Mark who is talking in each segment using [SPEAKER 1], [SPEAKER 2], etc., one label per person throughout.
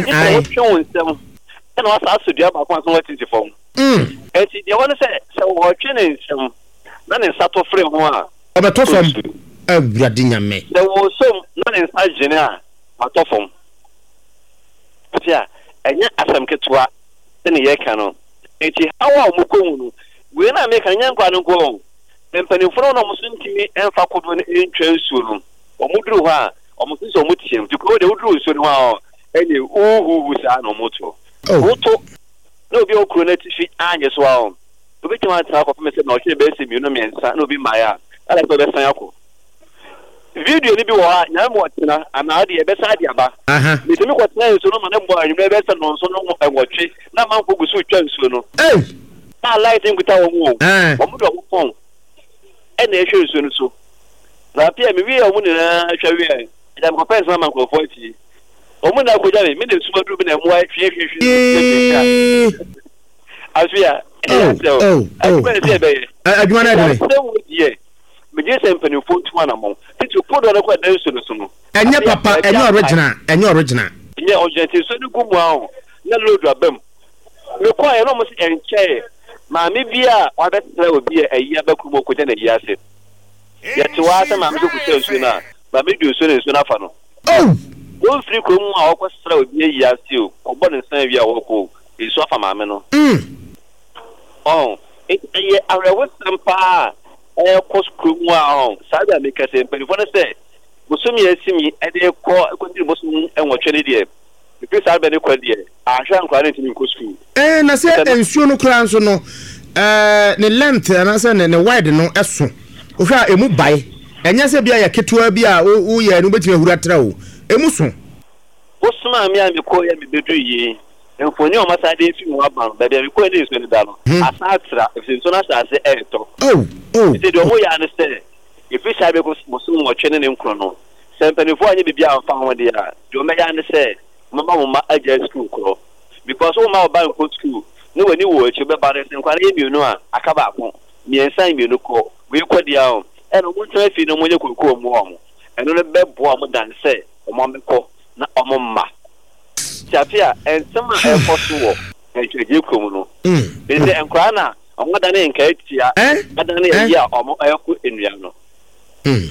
[SPEAKER 1] Gye sɛ wotwe wo nsam ɛna wasa asɔ dua baako ansa na woatiti fam. Enti deɛ ɛwɔ ne sɛ, sɛ ɔretwe ne nsam na ne nsa tɔ firi ho a,
[SPEAKER 2] Ɔbɛtɔ fam. Awurade Nyame.
[SPEAKER 1] Sɛ ɔresom na ne nsa gyene a, watɔ fam. Nti a, ɛnyɛ asɛm ketewa sɛdeɛ yɛreka no. Enti haw a wɔkɔ mu no, wei no a meka no, ɛnyɛ nkwadaa no nko ara o. Mpanimfoɔ no a wɔn nso ntumi mfa kodoɔ no ntwa nsuo no, wɔduru hɔ a, wɔn nso sɛ wɔteam. Nti kuro deɛ woduru nsuo no ho a, ɛnneɛ huhuhu saa na wɔto. Woto na obi a ɔwɔ kuro no atifi anyɛ so a, obɛtumi atena akɔpem sɛ nnɔnhwere bɛyɛ sɛ mmienu mmiɛnsa na obi mmaeɛ a, ɛna sɛ ɔbɛsan akɔ. Video no bi wɔ hɔ a, Nyame ma ɔtena anaa ɔde ɛbɛsan de aba. Metumi kɔtena nsuo no ma no bɔ anwummerɛ bɛyɛ sɛ nnɔnson no nwɔtwe na amanfoɔ gu so retwa nsuo no. A light nkuta wɔn o, wɔn de wɔn phone ɛna ɛhwɛ nsuo no so. Na afei a mewie wɔn nyinaa hwɛ wie a, ɛgya mekɔpɛ nsɛm ama nkurɔfoɔ atie. Wɔn nyinaa kɔgya me, me na esum aduru me na mmoa hwie hwie hwie. Afei a, ɛyɛ asɛ o, adwuma na ɛsɛ ɛbɛyɛ.
[SPEAKER 2] Adwuma no ɛdene.
[SPEAKER 1] Sɛ wo deɛ, megye sɛ mpanimfoɔ ntu anamɔn. Titi kodoɔ no kɔ ɛda nsuo no so no.
[SPEAKER 2] Ɛnyɛ papa, ɛnyɛ original, ɛnyɛ original.
[SPEAKER 1] Ɛnyɛ original, nti nsuo no gu mu a na load aba mu. Mekɔeɛ na wɔn se ɛnkyɛe maame bi a wabɛsra obi a ayi aba kurom a ɔkɔgya n'ayi ase. Yɛte hɔ ara sɛ maame sɛ ɔkɔsra nsuo no a, maame de nsuo no nsuo no afa no.
[SPEAKER 2] Oh!
[SPEAKER 1] Wɔmfiri kurom mu a wɔkɔsra obi ayi ase o, kɔbɔ ne nsa awie a wɔkɔ o, nsuo afa maame no. Ɔho, enti ɛyɛ awerɛhosɛm paa a ɛrekɔ kurom mu a ɔho, saa bere a meka sɛ mpanimfoɔ no sɛ bosome a asim yi de rekɔ kɔduru bosome nwɔtwe no deɛ, ɛfiri saa berɛ no kɔ deɛ, Anhwɛ a nkwadaa no ntumi nkɔ sukuu.
[SPEAKER 2] Ɛɛ na sɛ nsuo no koraa nso no ɛɛ ne length anaasɛ ne ne wide no ɛso wohwɛ a emu bae ɛnyɛ sɛ bi a yɛ ketewa bi a woyɛ no wobɛtumi ahuru atra o emu so.
[SPEAKER 1] Wosomaa me a mekɔeɛ a mebɛduru yei mfoni a wɔasan de afi mu aba no baabi a mekɔeɛ ne nsuo no da no asan atra ɛfiri sɛ nsuo no ahyɛ ase ɛretɔ.
[SPEAKER 2] Oh oh.
[SPEAKER 1] Nti deɛ wɔyɛ ara ne sɛ ɛfiri saa berɛ kɔsi bosome nwɔtwe ne ne nkron no sɛ mpanimfoɔ anyɛ biribi amfa ho deɛ a deɛ wɔbɛyɛ ara ne sɛ Momma mo mma agyae sukuu korɔ because womma wo ba nkɔ sukuu na w'ani wɔ akyi wobɛba no sɛ nkwadaa no yɛ mmienu a aka baako mmiɛnsa mmienu kɔ wei kɔ deɛ o ɛna wɔn ntena fie na wɔn nyɛ kookoo mmoa wɔn ɛno no bɛboa wɔn dan sɛ wɔn abɛkɔ na wɔn mma ti afe a nsɛm a ɛkɔ so wɔ ntwɛgye kurom no ɛsɛ sɛ nkwadaa na wɔn adane nkae tia adane ayi a wɔn ɛkɔ nnua no.
[SPEAKER 2] Hmm.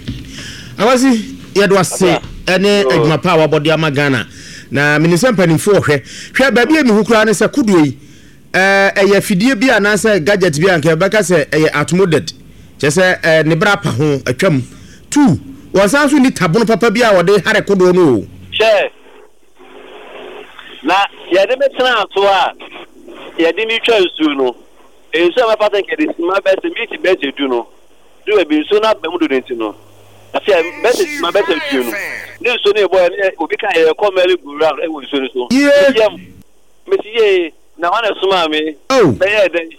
[SPEAKER 2] Awasi, yɛde wase ɛne adwuma pa a wabɔ de ama Ghana. Na menim sɛ mpanimfoɔ hwɛ. Hwɛ baabi a mehu koraa ne sɛ kodoɔ yi ɛyɛ afidie bi anaasɛ gadget bi a nka yɛbɛka sɛ ɛyɛ outmoded. Kyerɛ sɛ ɛɛ ne bra pa ho atwam. Tu, wɔn san so nni tabono papa bi a wɔde hare kodoɔ no o.
[SPEAKER 1] Hwɛ, na yɛde me tenaa so a yɛde me twa nsuo no, nsuo a mɛfa sɛ nka yɛde sima bɛsɛ minti bɛsɛ du no, Du baabi nsuo no aba mu dodo nti no, afei a bɛsɛ sima bɛsɛ aduonu ne nsuo no rebɔ ne obi ka yɛrekɔ merry go round wɔ nsuo no so.
[SPEAKER 2] Yie.
[SPEAKER 1] Yam mesi yie na hwan na ɛsomaa me?
[SPEAKER 2] Oh.
[SPEAKER 1] Bɛyɛɛ dɛn?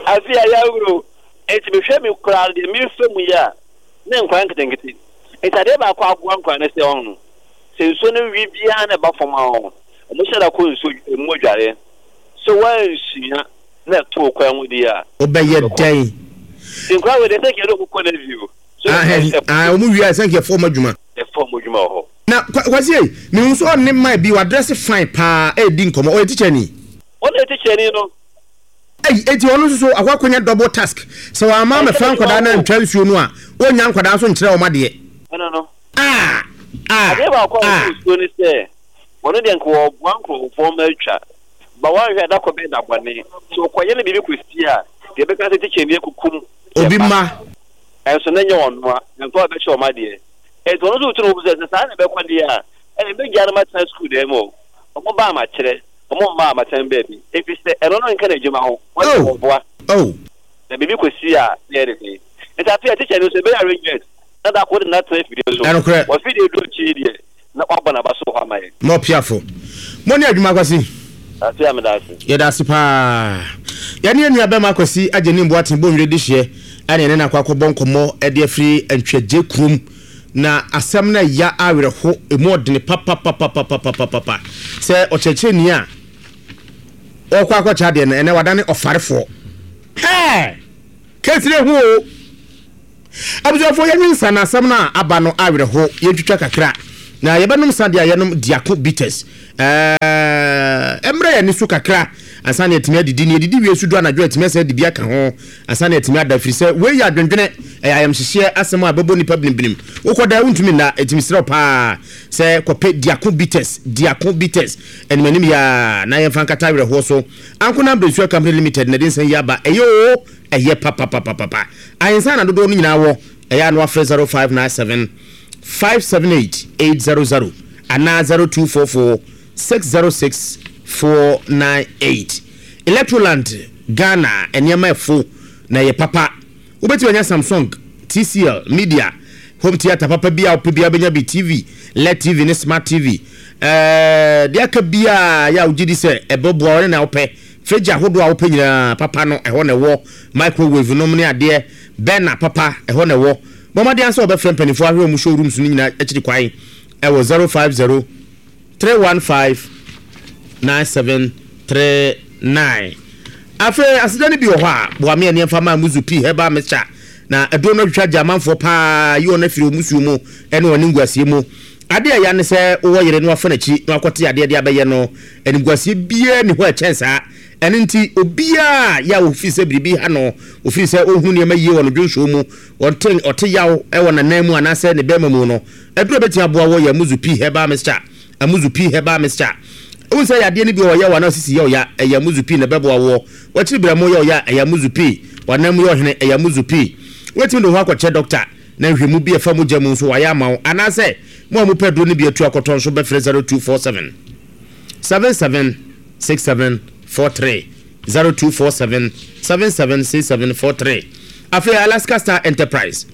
[SPEAKER 1] Afei a yɛahuro nti mehwɛ me koraa deɛ merefa mu yi a ne nkwadaa nketenkete nti adeɛ baako aboa nkwadaa no sɛ ɔho sɛ nsuo no wi biara na ɛba fam a ɔho wɔn hyɛ da kɔ nsuo mu adwareɛ so wɔansua na ɛtoo kwan mu deɛ a.
[SPEAKER 2] Wobɛyɛ dɛn?
[SPEAKER 1] Nti nkwadaa wei deɛ sɛ nka yɛde wɔn kɔ navy o. So
[SPEAKER 2] ah, wɔn wie a sɛ nka yɛfa wɔn adwuma.
[SPEAKER 1] Yɛfa wɔn adwuma wɔ hɔ.
[SPEAKER 2] Na Kwasi ei, mehu sɛ ɔne man bi wadrɛse fine paa ɛredi nkɔmmɔ, ɔyɛ tikyani?
[SPEAKER 1] Ɔno yɛ tikyani no.
[SPEAKER 2] Ei, enti ɔno nso so akɔ akɔnya double task, sɛ wamma ammɛfa nkwadaa no antwa nsuo no a, ɔnnya nkwadaa nso nkyerɛ wɔn adeɛ.
[SPEAKER 1] Ɛno no.
[SPEAKER 2] Ah! Ah!
[SPEAKER 1] Adeɛ baako a
[SPEAKER 2] Ah!
[SPEAKER 1] wɔde nsuo ne sɛ, wɔn deɛ nka wɔboa nkurɔfoɔ ma atwa. Ba woanhwɛ a da kɔ bɛyɛ da bɔne. Sɛ ɔkɔyɛ no biribi kɔsi a, deɛ ɛbɛka sɛ tikyani akukum yɛn
[SPEAKER 2] Obi
[SPEAKER 1] mma.
[SPEAKER 2] mma.
[SPEAKER 1] Ɛnso na ɛnyɛ ɔno a, na nka ɔbɛkyɛ wɔn adeɛ. Enti ɔno nso retu ne ho fo sɛ, sɛ saa na ɛbɛkɔ deɛ a, ɛnneɛ mɛgyaa no matena sukuu dan mu o. Wɔn ba a makyerɛ, wɔn mma a matena baabi. Ɛfiri sɛ ɛno no nka n'adwuma ho, wɔn deɛ
[SPEAKER 2] Oh!
[SPEAKER 1] wɔboa.
[SPEAKER 2] Oh!
[SPEAKER 1] Na biribi kɔsi a, na ɛyɛ ne den. Enti afei a tikyani nso, ɛbɛyɛ arrangement na da koro wode no atena afidie so.
[SPEAKER 2] Ɛnokorɛ.
[SPEAKER 1] Wɔ afidie duru akyi yi deɛ, na wabɔ n'aba so wɔ hɔ ama yɛn.
[SPEAKER 2] Mo piafo. Mo ne adwuma Kwasi.
[SPEAKER 1] Ase a meda ase.
[SPEAKER 2] Yɛda ase paa. Yɛne yɛn nua bɛma Kwasi Agyenim Boateng Bonwire dehyeɛ ɛne yɛne no akɔ akɔbɔ nkɔmmɔ de afiri Ntwɛgye kurom. Na asɛm no ɛya awerɛho, ɛmu ɔdene papapapapapapapa. Sɛ ɔkyerɛkyerɛni a ɔrekɔ akɔkyerɛ adeɛ no ɛnɛ wadane ɔfarefoɔ. Hɛɛ! Kɛsire ho o! Abusuafoɔ yɛnwe nsa na asɛm no a aba no awerɛho yɛntwitwa kakra. Na yɛbɛnom sa deɛ a yɛnom Diako Bitters. Ɛɛ, ɛmmrɛ yɛn ani so kakra ansa na yɛatumi adidi. Na yɛdidi wie nso du anadwo a, yɛatumi asan adi bi aka ho ansa na yɛatumi ada. Ɛfiri sɛ wei yɛ adwendwene, ɛyɛ ayamhyehyeɛ asɛm a ɛbɛbɔ nnipa binimbinim. Wokɔda a, wontumi nna. Enti mesrɛ wo paa sɛ kɔpɛ Diako Bitters, Diako Bitters, animanim yi ara na yɛmfa nkata awerɛhoɔ so. Ankonam Brensua Company Limited na ɛde nsa yi aba. Ɛyɛ oo, ɛyɛ papapapapa. Ahensan na dodoɔ no nyinaa wɔ. Ɛyɛ a na wafrɛ 0597 578 800 anaa 0244 606 498. Electroland Ghana nneɛma ɛfo na ɛyɛ papa. Wobɛtumi anya Samsung, TCL, Media, home theatre papa bi a wopɛ biara wobɛnya bi, TV, LED TV ne Smart TV. Ɛɛ deɛ aka biara yɛ a wogye di sɛ ɛbɛboa wo ne nea wopɛ. Fridge ahodoɔ a wopɛ nyinaa papa no ɛhɔ na ɛwɔ. Microwave nom ne adeɛ, burner papa ɛhɔ na ɛwɔ. Bɔ mmɔden ara sɛ wɔbɛfrɛ mpanimfoɔ ahwɛ wɔn show rooms no nyinaa akyiri kwan wɔ 050 315 9739. Afei aseda no bi wɔ hɔ a, boa me ani mfa ma Muzu Pii Herbal Mixture. Na aduro no atwitwa gye amanfoɔ paa, yi wɔn afiri wɔn musuo mu ne wɔn animguaseɛ mu. Adeɛ a ɛya ne sɛ wowɔ yere na wafa n'akyi na wakɔte adeɛ de abɛyɛ no, animguaseɛ biara nni hɔ a ɛkyɛn saa. Ɛno nti, obiara a yɛ a ɔfiri sɛ biribi ha no, ɔfiri sɛ ɔnhunu nneɛma yie wɔ no dwonsɔɔ mu, ɔnte ɔte yaw wɔ n'anan mu anaasɛ ne bɛrima mu no, aduro a ɛbɛtumi aboa wɔ yɛ Amuzu Pii Herbal Mixture. Amuzu Pii Herbal Mixture. Wohu sɛ yadeɛ no bi wɔ hɔ yɛ wo anaa osisi yɛ wo ya, ɛyɛ Amuzu Pii na ɛbɛboa woɔ. W'akyiri berɛmo yɛ wo ya a, ɛyɛ Amuzu Pii. W'anan mu yɛ ɔhene, ɛyɛ Amuzu Pii. Wobɛtumi de wo ho akɔkyerɛ dɔkta na nhwɛmu bi a ɛfa mogya mu nso wayɛ ama wo. Anaasɛ mo a mopɛ aduro no bi atu akɔtɔ nso bɛfrɛ 0247 77 6743 0247 776743 Afei Alaska Star Enterprise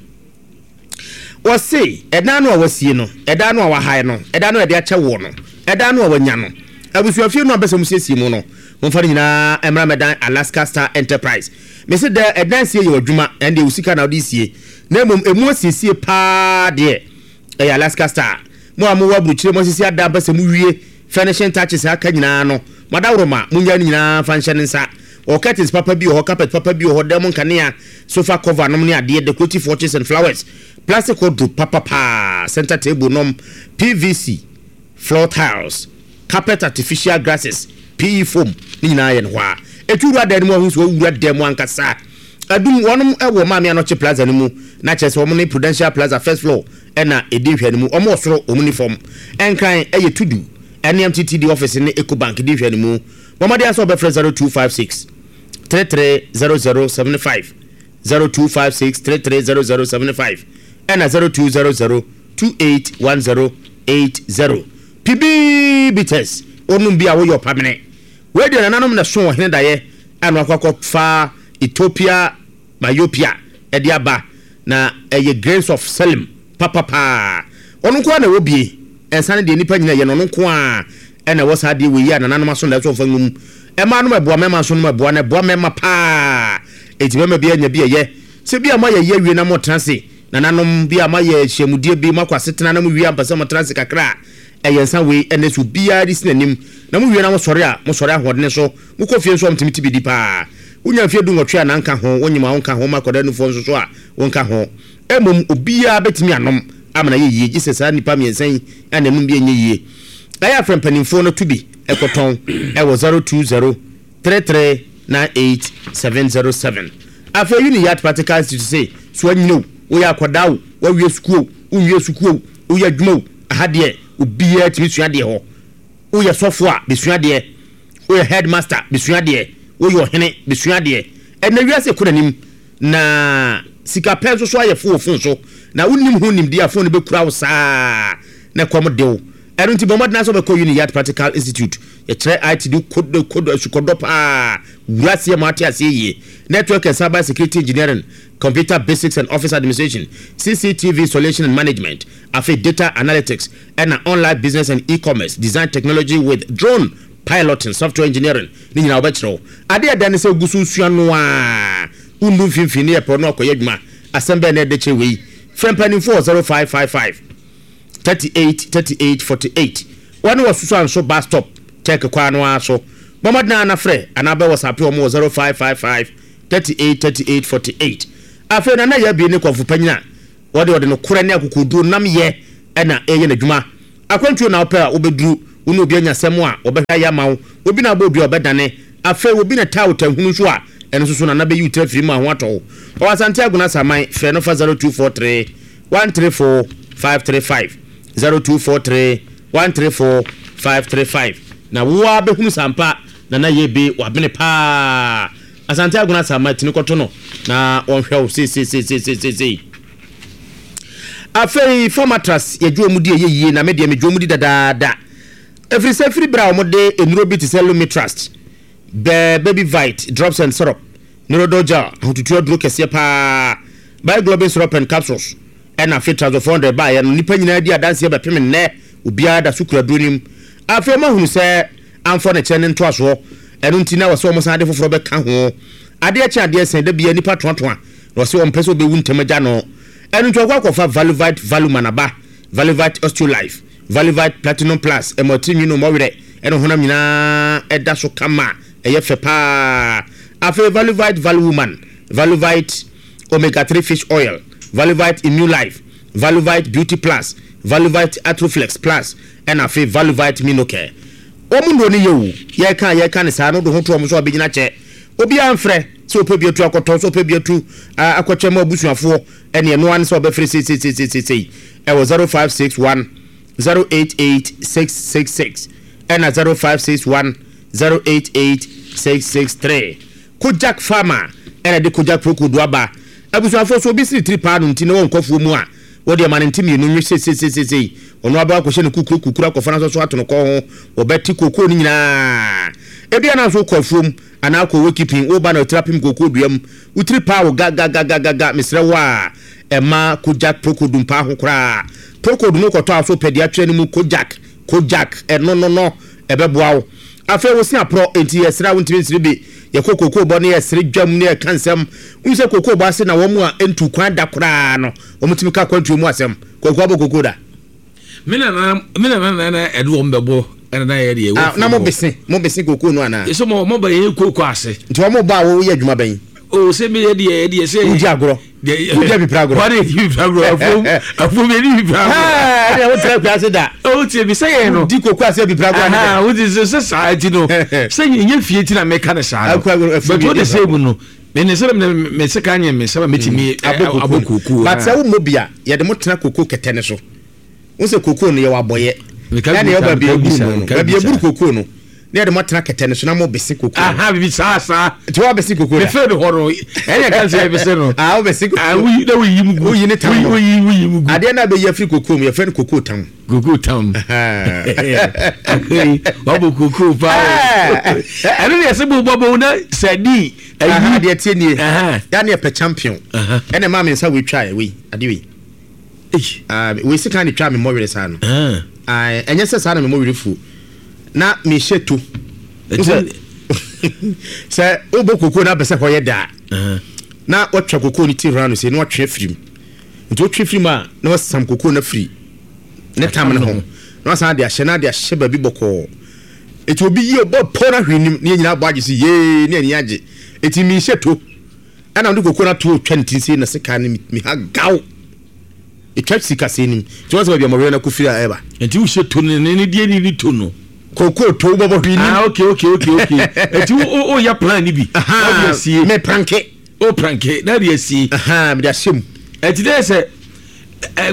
[SPEAKER 2] wɔse ɛdan no a wasie no, ɛdan no a wahae no, ɛdan no a yɛde akyɛ woɔ no, ɛdan no a wanya no, abusuafie no a mpɛ sɛ mosiesie mu no, momfa no nyinaa mmra mmɛdan Alaska Star Enterprise. Mese dɛ ɛdan sie yɛ w'adwuma, ɛndeɛ wo sika na wode sie, na mmom ɛmu asiesie paa deɛ ɛyɛ Alaska Star. Mo a mowɔ aburukyire moasisi adan pɛ sɛ mowie furnishing touches a aka nyinaa no, mo adaworoma, monnyae ne nyinaa mfa nhyɛ ne nsa. Wɔwɔ curtains papa bi wɔ hɔ, carpet papa bi wɔ hɔ, dan mu nkanea, sofa cover nom ne adeɛ, decorative watches and flowers, plastic wardrobe papa paa, center table nom, PVC floor tiles, carpet artificial grasses, PE foam, ne nyinaa yɛ no hɔ ara. Ɛtu wura dan no mu a wohu sɛ wawura dan mu ankasa. Adum, wɔnom wɔ Maame Anokye Plaza no mu, na kyerɛ sɛ wɔn ne Prudential Plaza first floor na ɛdi nhwɛanimu. Wɔn wɔ soro, wɔn nni fam. Nkran yɛ Tudu ne MTTD office ne Ecobank di nhwɛanimu. Bɔ mmɔden ara sɛ wobɛfrɛ 0256 330075, 0256 330075 ɛna 0200 281080. Pibii bitters, wonom bi a woyɛ ɔpamene. Wei deɛ nananom na ɛso ɔhene daeɛ a na wakɔ akɔfa Ethiopia Myopia de aba na ɛyɛ grains of selim papapaa. Ɔno nko ara na ɛwɔ bie. Nsa no deɛ nnipa nyina yɛ no ɔno nko ara na ɛwɔ saa adeɛ wei yi a nananom aso na ɛsɛ ɔmfa ngu mu. Mmaa nom ɛboa mmarima nso nom ɛboa na ɛboa mmarima paa. Enti barima biara nya bi ɛyɛ. Sɛ bi a moayɛ yi awie na motena ase nananom bi a moayɛ nhyiamudie bi moakɔ asetena na mowie a mopɛ sɛ motena ase kakra a ɛyɛ nsa wei ɛnɛ sɛ obiara de si n'anim na mowie na mosɔre a mosɔre ahoɔdene so mokɔ fie nso a motumi te bi di paa. Wonya mfeɛ dunwɔtwe a na nka ho, wonyem a wonka ho, ma akwadaa nufoɔ nso so a wonka ho. Mmom obiara bɛtumi anom ama no ayɛ yie, gye sɛ saa nnipa mmiɛnsa yi a na ɛnom bi ɛnyɛ yie. Ɛyɛ a frɛ mpanimfoɔ no to bi kɔtɔn wɔ 020 33 98 707. Afei Uniyat Practical Institute se, so anyini o, woyɛ akwadaa o, woawie sukuu o, wonwie sukuu o, woyɛ adwuma o, aha deɛ obiara tumi sua adeɛ hɔ. Woyɛ sɔfo a, bɛsua adeɛ. Woyɛ headmaster, bɛsua adeɛ. Woyɛ ɔhene, bɛsua adeɛ. Ɛnnɛ wiase rekɔ n'anim, na sika pɛ nso so ayɛ fo wɔ fon so. Na wonnim ho nimdeɛ a, fon no bɛkura wo saa na ɛkɔm de wo. Ɛno nti bɔ mmɔden ara sɛ wobɛkɔ Uniyat Practical Institute. Yɛkyerɛ IT de kodo kodo asukɔdɔ paa, wura aseɛ ma woate aseɛ yie. Network and Cyber Security Engineering, Computer Basics and Office Administration, CCTV Installation and Management, afei Data Analytics, ɛna Online Business and E-commerce, Design Technology with Drone Piloting, Software Engineering, ne nyinaa wɔbɛkyerɛ wo. Adeɛ a ɛda ne sɛ wogu so resua no ara, wonnu mfimfini ne yɛpɛ no akɔyɛ adwuma. Asɛm bɛn na ɛde kyɛ wei? Frɛ mpanimfoɔ wɔ 0555 38 38 48. Wɔne wɔ Susuanso bus stop, Turk kwan no ara so. Bɔ mmɔden ara na frɛ anaa bɛ WhatsApp wɔn wɔ 0555 38 38 48. Afei Nana Yaa Bie ne kɔmfo panyin a Wɔde ɔde nokorɛ ne akokoɔduro nnamyɛ na ɛreyɛ n'adwuma. Akwantuo na wopɛ a wobɛduru, wo ne obi anya asɛm a wɔbɛhwɛ ayɛ ama wo, obi na abɔ dua a ɔbɛdane, afei obi na taa wo tanhunu nso a, ɛno nso so Nana bɛyi wo tiri afiri mu a ho atɔ wo. Ɔwɔ Asante Agona Asaman, frɛ no fa 0243 134 535, 0243 134 535, na wo ara bɛhunu sɛ ampa Nana Yebe wabene paa. Asante Agona Asaman, tini kɔto no na wɔnhwɛ wo seiseiseiseiseisei. Afei fa matras yɛ dwoɔ mu di ɛyɛ yie na me deɛ me dwoɔ mu di dadaada ɛfiri sɛ firi berɛ a wɔde nnuro bi te sɛ Lumitrust, Bɛ Baby Vite drops and syrup, Neurodol gel, ahotutuo aduro kɛseɛ paa, Biglobin syrup and capsules ɛna afei Trazol 400 baeɛ no nnipa nyinaa di adanseɛ bɛpem nnɛ obiara da so kura aduro no mu. Afei wɔahunu sɛ amfɔ ne kyɛ ne ntoasoɔ ɛno nti na wɔsɛ wɔsan de foforɔ bɛka ho. Adeɛ kye adeɛ sɛn da biara nnipa toatoa Na ɔse ɔmpɛ sɛ ɔbɛwu ntɛm agya no. Ɛno nti ɔkɔ akɔfa Valuvite Valuman aba, Valuvite Osteolife, Valuvite Platinum Plus, ɛma ɔtirinwi no mmɔ werɛ ɛne honam nyinaa ɛda so kama, ɛyɛ fɛ paa. Afei Valuvite Valuwoman, Valuvite Omega 3 Fish Oil, Valuvite Immune Life, Valuvite Beauty Plus, Valuvite Arthroflex Plus, ɛna afei Valuvite Minocare. Wɔn nnuro no yɛ o, yɛreka a yɛreka no saa no wode ho to wɔn so a wɔbɛgyina kyɛ. Obiara mfrɛ sɛ ɔpɛ bi atu akɔtɔ, sɛ ɔpɛ bi atu akɔkyɛ ma abusuafoɔ, ɛne ɛno ara ne sɛ ɔbɛfrɛ seiseiseisei ɛwɔ 0561 088 666 ɛna 0561 088 663. Kojak Pharma ɛna de Kojak Procold aba. Abusuafoɔ sɛ obi siri tiri paa no nti na wɔnkɔ afuo mu a, wɔde ɛma no nte mmienu nwe seiseiseisei. Ɔno abɛkɔ akɔhyɛ ne kukuro kukuro akɔfa no asɔ so ato no kɔn ho, wɔbɛte kookoo no nyinaa. Ebia na nso wokɔ afuom anaa wokɔ wokipin, woba na wotiri apem kookoo dua mu, wo tiri paa wo gagagagagaga, mesrɛ wo a, mma Kojak Procold mpaa ho koraa. Procold no wokɔtɔ a so wopɛ deɛ atwerɛ no mu Kojak, Kojak, ɛno no no, ɛbɛboa wo. Afei wo se aporɔ, enti yɛsrɛ a wontumi nsere bi. Yɛkɔ kookoo bɔ ne yɛsere dwam ne yɛka nsɛm. Wohu sɛ kookoo bɔ ase na wɔn a ɛntu kwan da koraa no, wɔtumi ka akwantuo mu asɛm. Kwaku abɔ kookoo da?
[SPEAKER 3] Me nana me nana na na ɛde wɔn bɛbɔ ɛna na yɛ deɛ.
[SPEAKER 2] Ah, na mo bese mo bese kookoo no anaa?
[SPEAKER 3] Yɛsɛ mo mo ba yɛ kookoo ase.
[SPEAKER 2] Nti wɔn bɔ a wɔyɛ adwuma bɛn?
[SPEAKER 3] O sɛ mi yɛ deɛ yɛ deɛ sɛ.
[SPEAKER 2] Wodi agorɔ. Wodi abipira agorɔ.
[SPEAKER 3] Wɔde yɛ bipira agorɔ afuom afuom yɛ di bipira agorɔ.
[SPEAKER 2] Ɛɛ ɛdeɛ wotra akura ase da.
[SPEAKER 3] O tie bi sɛ yɛn no.
[SPEAKER 2] Wodi kookoo ase abipira agorɔ anaa.
[SPEAKER 3] Aha wodi sɛ sɛ saa ti no sɛ nyɛ fie ti na mɛka ne saa no. But o de sɛ mu no. Me ne sɛ me me sika nyɛ me sɛ metumi
[SPEAKER 2] mm, abɔ kookoo. But sɛ wommɔ bi a yɛde mo tena kookoo kɛtɛ no so. Wo sɛ kookoo no yɛwɔ abɔyɛ. Ɛna yɛwɔ baabi eburu mu no. Baabi eburu kookoo no. Na yɛde mo atena kɛtɛ no so na mo bese kookoo.
[SPEAKER 3] Aha bibi saa saa.
[SPEAKER 2] Nti wo abese kookoo da.
[SPEAKER 3] Mefe no hɔ no. Ɛna ɛka sɛ yɛbese no.
[SPEAKER 2] Ah wo bese kookoo.
[SPEAKER 3] Ah woyi na woyi mu gu.
[SPEAKER 2] Woyi ne tam no.
[SPEAKER 3] Woyi woyi mu gu.
[SPEAKER 2] Adeɛ na abɛyi afiri kookoo mu yɛfrɛ no kookoo tam.
[SPEAKER 3] Kookoo tam. Afei wabɔ kookoo paa. Ɛno deɛ sɛ bobɔ bɔ na sɛ di.
[SPEAKER 2] Ayi deɛ tie nie. Ya ne ɛpɛ champion. Ɛna ɛmaa me nsa wei twa wei adeɛ wei. Wei sika ne twa me mmɔwerɛ saa no. Ɛnyɛ sɛ saa na me mmɔwerɛ fuo. Na mehyɛ to. Sɛ wobɔ kookoo na apɛ sɛ hɔ yɛ daa. Na watwa kookoo no ti round sei na watwe afiri mu. Nti wotwe firi mu a na wasam kookoo no afiri ne tam no ho na wasan de ahyɛ na de ahyɛ baabi bɔkɔɔ. Eti obi yi ɔbɔ pɔ na hwee nim ne yɛn nyinaa bɔ agye si yee ne ani agye. Eti mi nhyɛ to ɛna ɔde koko no ato otwa ne ti nse na sika no mi ha gaw. Etwa sika sɛ nim. Ti wɔn sɛ baabi a mɔwerɛ no akɔ firi a ɛba.
[SPEAKER 3] Eti wohyɛ to no ne ne deɛ ni ne to no.
[SPEAKER 2] Koko to wobɔbɔ hwee nim.
[SPEAKER 3] Ah okay okay okay okay. Eti wo o yɛ plan ni bi.
[SPEAKER 2] Aha me pranke.
[SPEAKER 3] O pranke na de asie.
[SPEAKER 2] Aha mede ahyɛ mu.
[SPEAKER 3] Eti dɛ sɛ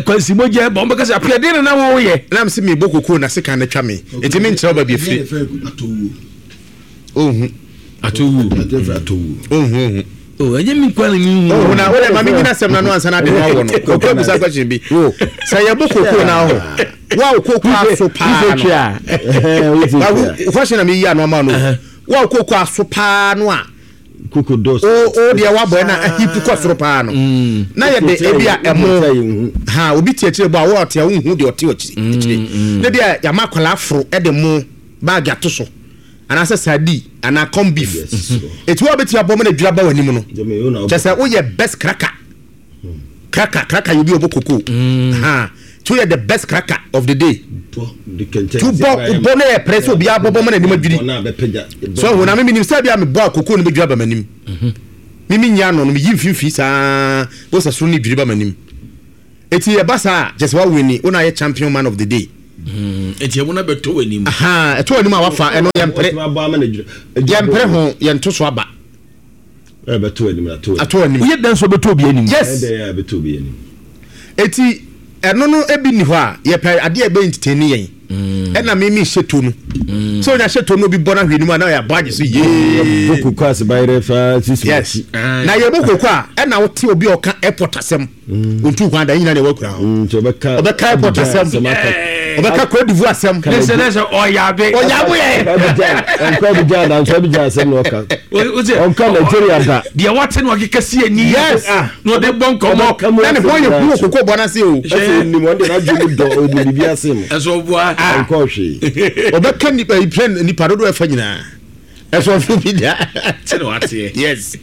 [SPEAKER 3] kwansi mogya ba wɔbɛka sɛ apia deɛ na na woyɛ.
[SPEAKER 2] Na mese mebɔ kokoo na sekan no atwa me nti menkyerɛ wo baabi afiri. Ohu.
[SPEAKER 3] Atowuo.
[SPEAKER 2] Ohu ohu.
[SPEAKER 3] Oh, ɛnyɛ mi nkwa na mi hu.
[SPEAKER 2] Ohu na wode ma menyina asɛm no ano ansa na ade no awɔ no. Koko abusa question bi. Sɛ yɛbɔ kokoo na aho. Wo a wo kokoo aso paa no. Question na meyi ano ama no. Wo a wo kokoo aso paa no a
[SPEAKER 4] Koko dɔs.
[SPEAKER 2] O o deɛ wabɔ ɛna ahipu kɔ soro paa no. Mm. Na yɛde ebi a ɛmo ha obi te akyire bɔ a wo ɔte a wonhu deɛ ɔte akyire. Mm, akyire. Mm. Ne deɛ yɛama akwadaa aforo ɛde mo baagi ato so anaasɛ sadi anaa corn beef. Eti wo a bɛtumi abɔ mo na dwira ba w'anim no. Kyɛ sɛ woyɛ best cracker. Cracker cracker yɛ obi ɔbɔ koko. Ha ti woyɛ the best cracker of the day. Ti wobɔ wobɔ no yɛ pɛrɛ sɛ obiara bɔbɔ ma n'anim adwiri. So ɛho na me menim sɛ bi a mebɔ a koko no bɛdwiri aba m'anim. Me menyi ano no meyi mfimfini saa bɔ sɛ soro no dwiri ba m'anim. Eti ɛba saa a kyɛ sɛ woawini wo na ayɛ champion man of the day.
[SPEAKER 3] Nti ɛmo no bɛtɔ w'anim.
[SPEAKER 2] Ɛtɔ w'anim a wafa ɛno yɛmpere. Yɛmpere ho yɛnto so aba.
[SPEAKER 4] Ɛbɛtɔ anim
[SPEAKER 2] ato anim.
[SPEAKER 3] Woyɛ dɛn so bɛtɔ obi anim?
[SPEAKER 2] Yes.
[SPEAKER 4] Ɛdɛn a bɛtɔ obi anim.
[SPEAKER 2] Eti ɛno no ebi ni hɔ a yɛpɛ adeɛ a ɛbɛ entertain yɛn. Ɛna mi mi hyɛ to no. Sɛ onya hyɛ to no obi bɔ n'ahwɛ anim a na yɛ abɔ agye so yee.
[SPEAKER 4] Bɔ koko ase ba yɛrɛ fa sisi.
[SPEAKER 2] Yes. Na yɛ bɔ koko a ɛna wote obi a ɔka airport asɛm. Ontu kwan da nyina na ɛwɔ akura hɔ.
[SPEAKER 4] Ɔbɛka
[SPEAKER 2] ɔbɛka airport asɛm. Ɔbɛka Cote d'Ivoire asɛm.
[SPEAKER 3] Ne sɛ ne sɛ ɔyabe.
[SPEAKER 2] Ɔyabe yɛ.
[SPEAKER 4] Ɔnkɔ Abidjan da nkɔ Abidjan asɛm na ɔka. Ɔnkɔ Nigeria da.
[SPEAKER 3] Deɛ wate na ɔkeka si ani.
[SPEAKER 2] Yes.
[SPEAKER 3] Na ɔde bɔ nkɔmɔ.
[SPEAKER 2] Na ne ho yɛ hu wɔ koko bɔ n'ase o.
[SPEAKER 4] Ɛsɛ onim ɔde n'adwene mu dɔ ɔde biribi ase mu.
[SPEAKER 3] Ɛsɛ ɔboa.
[SPEAKER 4] Ɔnkɔ hwee.
[SPEAKER 2] Ɔbɛka nipa plane nipa dodoɔ ɛfa nyinaa. Ɛsɛ ɔfo bi da.
[SPEAKER 3] Sɛ na wateɛ.
[SPEAKER 2] Yes.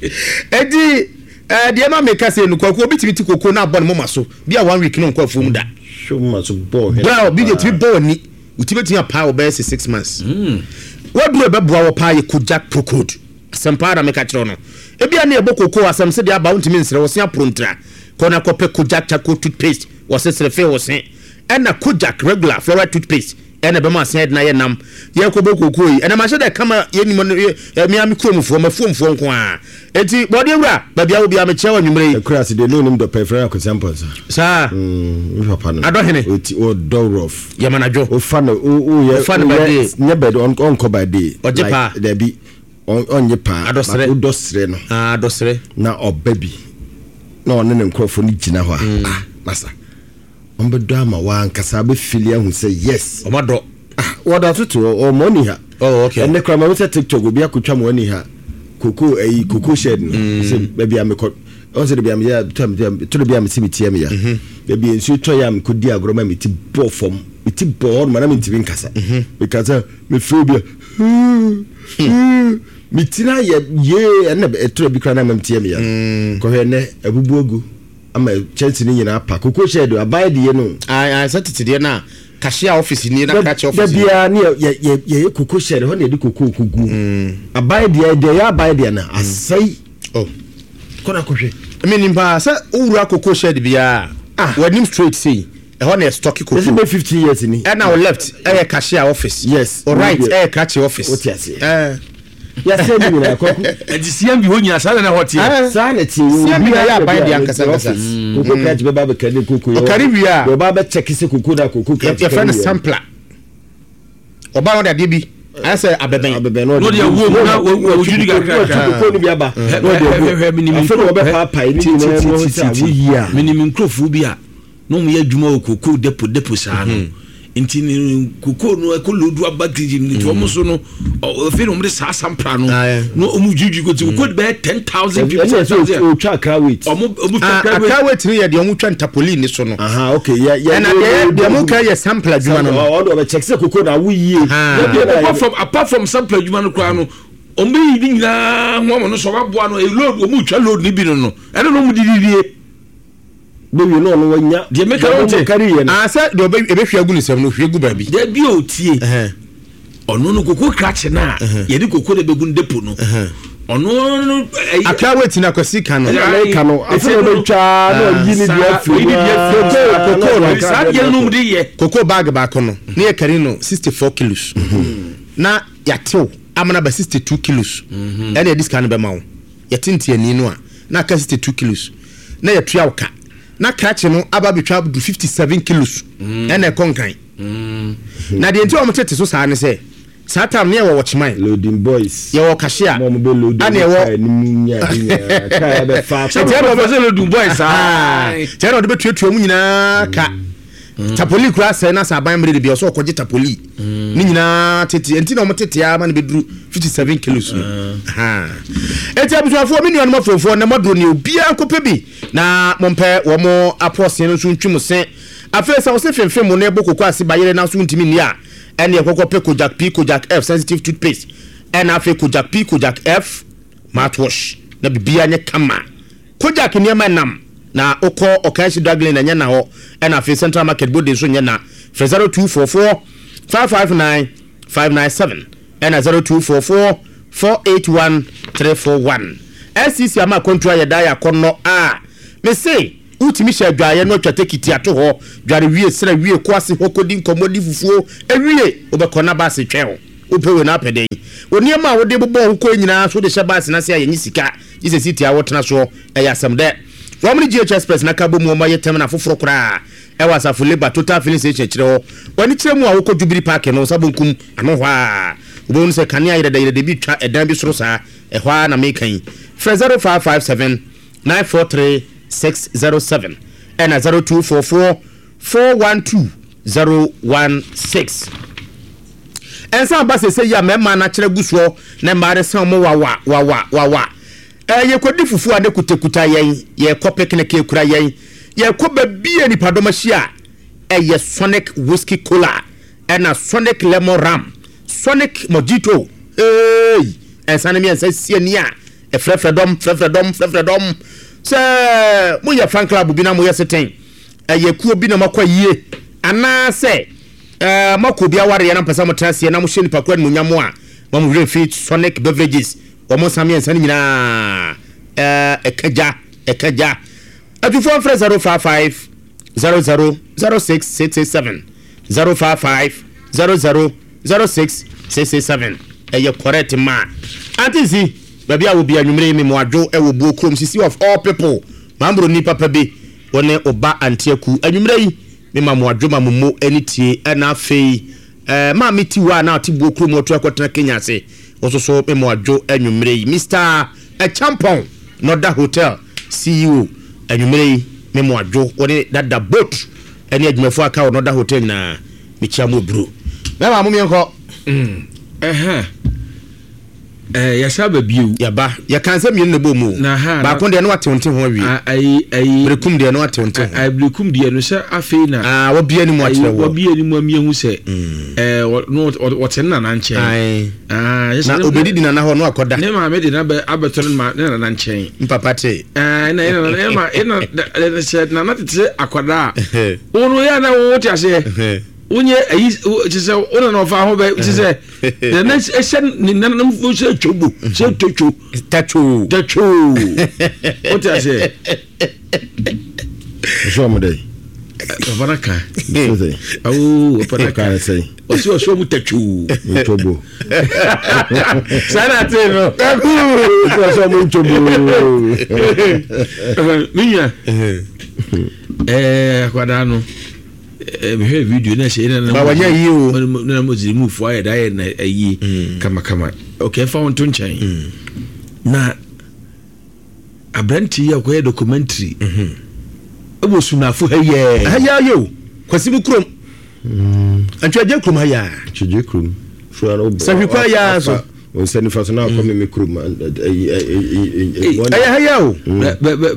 [SPEAKER 2] Eti ɛɛ deɛ ma meka sɛ no kwaku obi tumi ti koko na abɔ ne moma so bi a one week no nkɔ afuom da.
[SPEAKER 4] Hwɛ moma so bɔ hwɛ.
[SPEAKER 2] Bra obi deɛ tumi bɔ w'ani woti bɛtumi apaa wɔ bɛyɛ sɛ 6 months. Waduro ɛbɛboa wɔ paa yɛ Kojak Procode. Asɛm paa na meka kyerɛ no. Ebi a ne ɛbɔ koko asɛm sɛ deɛ aba wontumi nsrɛ wɔ se aporo ntira. Kɔ na kɔpɛ Kojak charcoal toothpaste wɔ se sere fee wɔ se. Ɛna Kojak regular fluoride toothpaste ɛna ɛbɛma asen ɛdena yɛ nam. Yɛkɔbɔ koko yi ɛna mahyɛ dɛ kama yɛnim no mmea me kuromfoɔ mafuomfoɔ nko a. Enti bɔdeɛ wura baabi a wo bia mekyia wɔ anwummerɛ yi.
[SPEAKER 4] Ɛkura ase deɛ ne onim dɔpɛ frɛ no Akwasi Amponsah.
[SPEAKER 2] Saa.
[SPEAKER 4] Me papa no.
[SPEAKER 2] Adɔhene.
[SPEAKER 4] Oti ɔdɔ rough.
[SPEAKER 2] Yɛmanadwo.
[SPEAKER 4] Ofa no o yɛ.
[SPEAKER 2] Ofa no by day.
[SPEAKER 4] Nyɛ bed ɔnkɔ by day.
[SPEAKER 2] Ɔgye paa.
[SPEAKER 4] Dabi ɔnye paa.
[SPEAKER 2] Adɔsrɛ.
[SPEAKER 4] Wodɔ srɛ no.
[SPEAKER 2] Ah adɔsrɛ.
[SPEAKER 4] Na ɔba bi na ɔne ne nkurɔfoɔ no gyina hɔ a. Ah masa. Ɔmbɛdɔ ama wankasa abɛfili ahu sɛ yes.
[SPEAKER 2] Ɔma dɔ.
[SPEAKER 4] Ah wɔda so te hɔ ɔmɔ ni ha.
[SPEAKER 2] Oh okay.
[SPEAKER 4] Ɛnɛ koraa ma sɛ TikTok obi akotwa mo ani ha koko ɛyi koko shed no. Sɛ baabi a mekɔ ɔn sɛ baabi a meyɛ tɔ tɔ bi a mesi me ti ɛmi ya. Baabi a nsuo tɔ yɛ a mekɔ di agorɔ ma me ti bɔ fam me ti bɔ hɔ nom na mentumi nkasa. Mekasa mefrɛ obi a me ti na yɛ yee ɛnna ɛtɔ bi koraa na ama me ti ɛmi ya. Kɔhwɛ ɛnɛ abubu agu ama kyɛnse no nyinaa pa koko shed aban de yɛ no.
[SPEAKER 2] Ayi sɛ tete deɛ na cashier office ni na krakye office.
[SPEAKER 4] Da biara ne yɛ yɛ yɛ koko shed hɔ na yɛde koko kogu. Aban deɛ deɛ yɛ aban deɛ na asɛe.
[SPEAKER 2] Oh.
[SPEAKER 4] Kɔ na kɔhwɛ.
[SPEAKER 2] Mi nipa sɛ owura koko shed biara.
[SPEAKER 4] Ah.
[SPEAKER 2] W'anim straight sei ɛhɔ na yɛ stock koko.
[SPEAKER 4] Yɛsɛ bɛ 15 years ni.
[SPEAKER 2] Ɛna o left ɛyɛ cashier office.
[SPEAKER 4] Yes.
[SPEAKER 2] O right ɛyɛ krakye office.
[SPEAKER 4] O ti aseɛ.
[SPEAKER 2] Ɛɛ.
[SPEAKER 4] Yɛasɛ ne nyinaa kɔku.
[SPEAKER 3] Ɛnti CMB hɔ nyinaa saa na na ɛhɔ teɛ.
[SPEAKER 4] Saa na teɛ.
[SPEAKER 2] CMB na yɛ aban deɛ ankasa ankasa.
[SPEAKER 4] Koko krakye bɛba abɛka ne koko.
[SPEAKER 2] Ɔkari wie a.
[SPEAKER 4] Ɔba abɛkyɛke sɛ koko na koko krakye.
[SPEAKER 2] Yɛfrɛ no sampler. Ɔba no de adeɛ bi ayɛ sɛ abɛbɛn.
[SPEAKER 4] Abɛbɛn na
[SPEAKER 3] ɔde awuo mu na wɔdwiri kakra.
[SPEAKER 4] Wɔtwi koko no bi aba. Na ɔde agu. Afei na wɔbɛpaapae ne nyinaa mu sɛ awoyi a.
[SPEAKER 3] Menim nkurɔfoɔ bi a na wɔn yɛ adwuma wɔ koko depo depo saa no. Nti ne koko no ɛkɔ lodu aba kirikiri nti wɔn so no afei na wɔn de saa sampra no na wɔn dwiridwiri ko ti koko de bɛyɛ 10,000 people.
[SPEAKER 4] Ɛna ɛsɛ otwa akra weight.
[SPEAKER 3] Wɔn twa akra weight.
[SPEAKER 2] Akra weight ni yɛ deɛ wɔn twa ntapolin ni so no.
[SPEAKER 4] Aha okay yɛ yɛ.
[SPEAKER 2] Ɛna deɛ deɛ wɔn ka yɛ sampler adwuma no.
[SPEAKER 4] Ɔno ɔbɛ check sɛ koko na awo yie.
[SPEAKER 3] Apart from sampler adwuma no koraa no wɔn bɛ yi ne nyinaa ho ama no so wɔn aboa no load wɔn twa load ni bi no no ɛna na wɔn di di die.
[SPEAKER 4] Bɛwie na ɔno wanya.
[SPEAKER 3] Deɛ meka no te.
[SPEAKER 4] Kari yɛ no.
[SPEAKER 2] Ah sɛ deɛ ɔbɛ ebɛhwie agu ne nsam no hwie gu baabi.
[SPEAKER 3] Dabi o tie. Ɔno no koko krakye no a yɛde koko na bɛgu no depo no. Ɔno no.
[SPEAKER 2] Akra wait na Kwasi ka no.
[SPEAKER 4] Ɛna meka no afei na ɔbɛtwa na ɔyi ne deɛ afiri mu.
[SPEAKER 2] Koko koko no.
[SPEAKER 3] Saa deɛ no de yɛ.
[SPEAKER 2] Koko bag baako no ne yɛ kari no 64 kilos. Na yɛatew amana ba 62 kilos. Ɛna yɛde sika no bɛma wo. Yɛte ntiani no a na aka 62 kilos. Na yɛtua wo ka. Na krakye no aba abɛtwa du 57 kilos. Ɛna ɛkɔ nkan. Na deɛ nti a wɔn tete so saa ne sɛ saa time ne yɛwɔ wɔkyeman.
[SPEAKER 4] Loading boys.
[SPEAKER 2] Yɛwɔ cashier.
[SPEAKER 4] Mo mo bɛ load
[SPEAKER 2] ɛna ɛwɔ
[SPEAKER 4] kaa anim nya ade nyinaa kaa bɛ fa.
[SPEAKER 2] Ɛti ɛna ɔbɛ
[SPEAKER 3] sɛ loading boys saa.
[SPEAKER 2] Kyɛ na ɔde bɛ tuatua mu nyinaa ka. Tapoli kura sɛ na sɛ aban mmiri de bi ɔsɛ ɔkɔgye tapoli. Ne nyinaa tete nti na wɔn tete ama no bɛduru 57 kilos no. Eti abusuafoɔ me nuanom afuofoɔ na moaduro ne obiara nkɔpɛ bi na mompɛ wɔn apɔɔsen no nso ntwi mo se. Afei sɛ wɔse femfem mo na ɛbɔ koko ase bayere na so ntumi nni a, ɛne ɛkɔkɔ pɛ Kojak P Kojak F sensitive toothpaste ɛna afei Kojak P Kojak F mouthwash na biribiara nyɛ kama. Kojak nneɛma ɛnam na wokɔ Okaishie Drug Lane ɛnyɛ na hɔ ɛna afei Central Market Bode nso nyɛ na. Frɛ 0244 559 597 ɛna 0244 481 341. SCC ama akwantuo ayɛ daa yɛ akɔnnɔ a mese. Wotumi hyɛ adwaeɛ no atwa tekiti ato hɔ, dware wie, sra wie, kɔ ase hɔ kɔdi nkɔmmɔ, di fufuo, wie, wobɛkɔ na baase twɛn wo. Wopɛ wei na apɛ dɛn? Wo nneɛma a wode bobɔɔ ho kɔe nyinaa nso wode hyɛ baase no ase a yɛnnye sika, gye sɛ seat a wotena soɔ. Ɛyɛ asɛm dɛ. Wɔn ne GH Express no aka abom wɔn ayɛ terminal foforɔ koraa ɛwɔ Asafo Labour Total Filling Station akyire hɔ. W'ani kyerɛ mu a wokɔ Jubilee Park no nsa bonkum ano hɔ a, wobɛhunu sɛ kanea yerɛdɛyerɛdɛ bi retwa ɛdan bi soro saa. Ɛhɔ ara na meka yi. Frɛ 0557 943 607 ɛna 0244 412 016. Ɛnsa aba sese yi a mmarima no akyerɛ gu soɔ na mmaa no san wɔn wawa wawa wawa. Ɛɛ yɛkɔdi fufuo a ne kutakuta yɛn, yɛkɔ picnic ekura yɛn, yɛkɔ baabi a nipadɔm ahyia a ɛyɛ Sonic Whiskey Cola ɛna Sonic Lemon Rum, Sonic Mojito. Eei! Ɛnsa no mmiɛnsa si ani a ɛfrɛfrɛ dɔm, frɛfrɛ dɔm, frɛfrɛ dɔm. Sɛ moyɛ fan club bi na moyɛ seten, ɛyɛ kuo bi na moakɔ ayie, anaasɛ ɛɛ moakɔ obi awareɛ na mopɛ sɛ motena aseɛ na mohyɛ nipa koro animuonyam a, ma mo werɛ mfi Sonic Beverages, wɔn nsa mmiɛnsa no nyinaa ɛɛ ɛka gya, ɛka gya. Atufoɔ mfrɛ 055 00 06 667, 055 00 06 667. Ɛyɛ correct ma. Auntie Nsi, baabi a wɔ bi anwummere yi me mo adwo ɛwɔ buo kurom sisi of all people mambroni papa bi wo ne wo ba Auntie Aku anwummere yi me ma mo adwo ma mo mo ani tie ɛna afei eh, maame Tiwa a na ɔte buo kurom ɔtu akɔtena Kenya ase wo nso so me mo adwo anwummere yi Mister Acheampong Nɔda Hotel CEO anwummere yi me mo adwo wo ne dada boat ɛne adwumafoɔ aka wɔ Nɔda Hotel nyinaa mekyia mo aburo mɛma mo meɛnkɔ.
[SPEAKER 3] Mm, ɛhɛn. Eh, yɛsa ba bio.
[SPEAKER 2] Yɛba. Yɛka nsɛm mmienu na ɛbɔ mu o.
[SPEAKER 3] Na ha,
[SPEAKER 2] Baako deɛ no watew nte ho awie.
[SPEAKER 3] A, ayi, ayi.
[SPEAKER 2] Berekum deɛ no watew nte ho.
[SPEAKER 3] Ayi, berekum deɛ no sɛ afei na.
[SPEAKER 2] Ah, wabia ne mu akyerɛ wɔ.
[SPEAKER 3] Wabia ne mu amia hu sɛ. Eh, no, wɔte ne nana nkyɛn.
[SPEAKER 2] Ayi.
[SPEAKER 3] Ah,
[SPEAKER 2] na obedidi nana hɔ no akɔda.
[SPEAKER 3] Ne maame de na bɛ abɛtɔ ne ma ne nana nkyɛn.
[SPEAKER 2] Mpapa te.
[SPEAKER 3] Eh, na na na ma na sɛ nana tete akwadaa. Wo no yɛ na wo te aseɛ. Wonyɛ ayi kyerɛ sɛ wo nana ɔfa ho bɛ kyerɛ sɛ nana ɛhyɛ ne nananom fo sɛ twobo sɛ totwo
[SPEAKER 2] tatwo
[SPEAKER 3] tatwo wote aseɛ
[SPEAKER 4] ɔsɛ ɔmo dɛ
[SPEAKER 3] papa no ka awo papa no ka ɔsɛ ɔsɛ ɔmo tatwo
[SPEAKER 4] ntwobo
[SPEAKER 3] saa na ate no
[SPEAKER 4] ɔsɛ ɔmo ntwobo
[SPEAKER 3] me nua ɛɛ akwadaa no mehwɛ video na ɛhyɛ na
[SPEAKER 2] na wanyɛ yie o
[SPEAKER 3] na mo ziri mu fo ayɛ da ayɛ na ayie mm. kama kama ok ɛfa wɔn to nkyɛn mm. na aberante yi a ɔkɔyɛ documentary mm-hmm. ɛwɔ sunafo ha yɛ
[SPEAKER 2] ha yɛ ayɛ o kwasi mu kurom mm. ntwɛgye kurom ha yɛ
[SPEAKER 4] ntwɛgye kurom
[SPEAKER 2] sahwi kwan yɛ a so
[SPEAKER 4] Wo nsa nifa so na akɔ me me kurom.
[SPEAKER 2] Ɛyɛ ha yɛ o.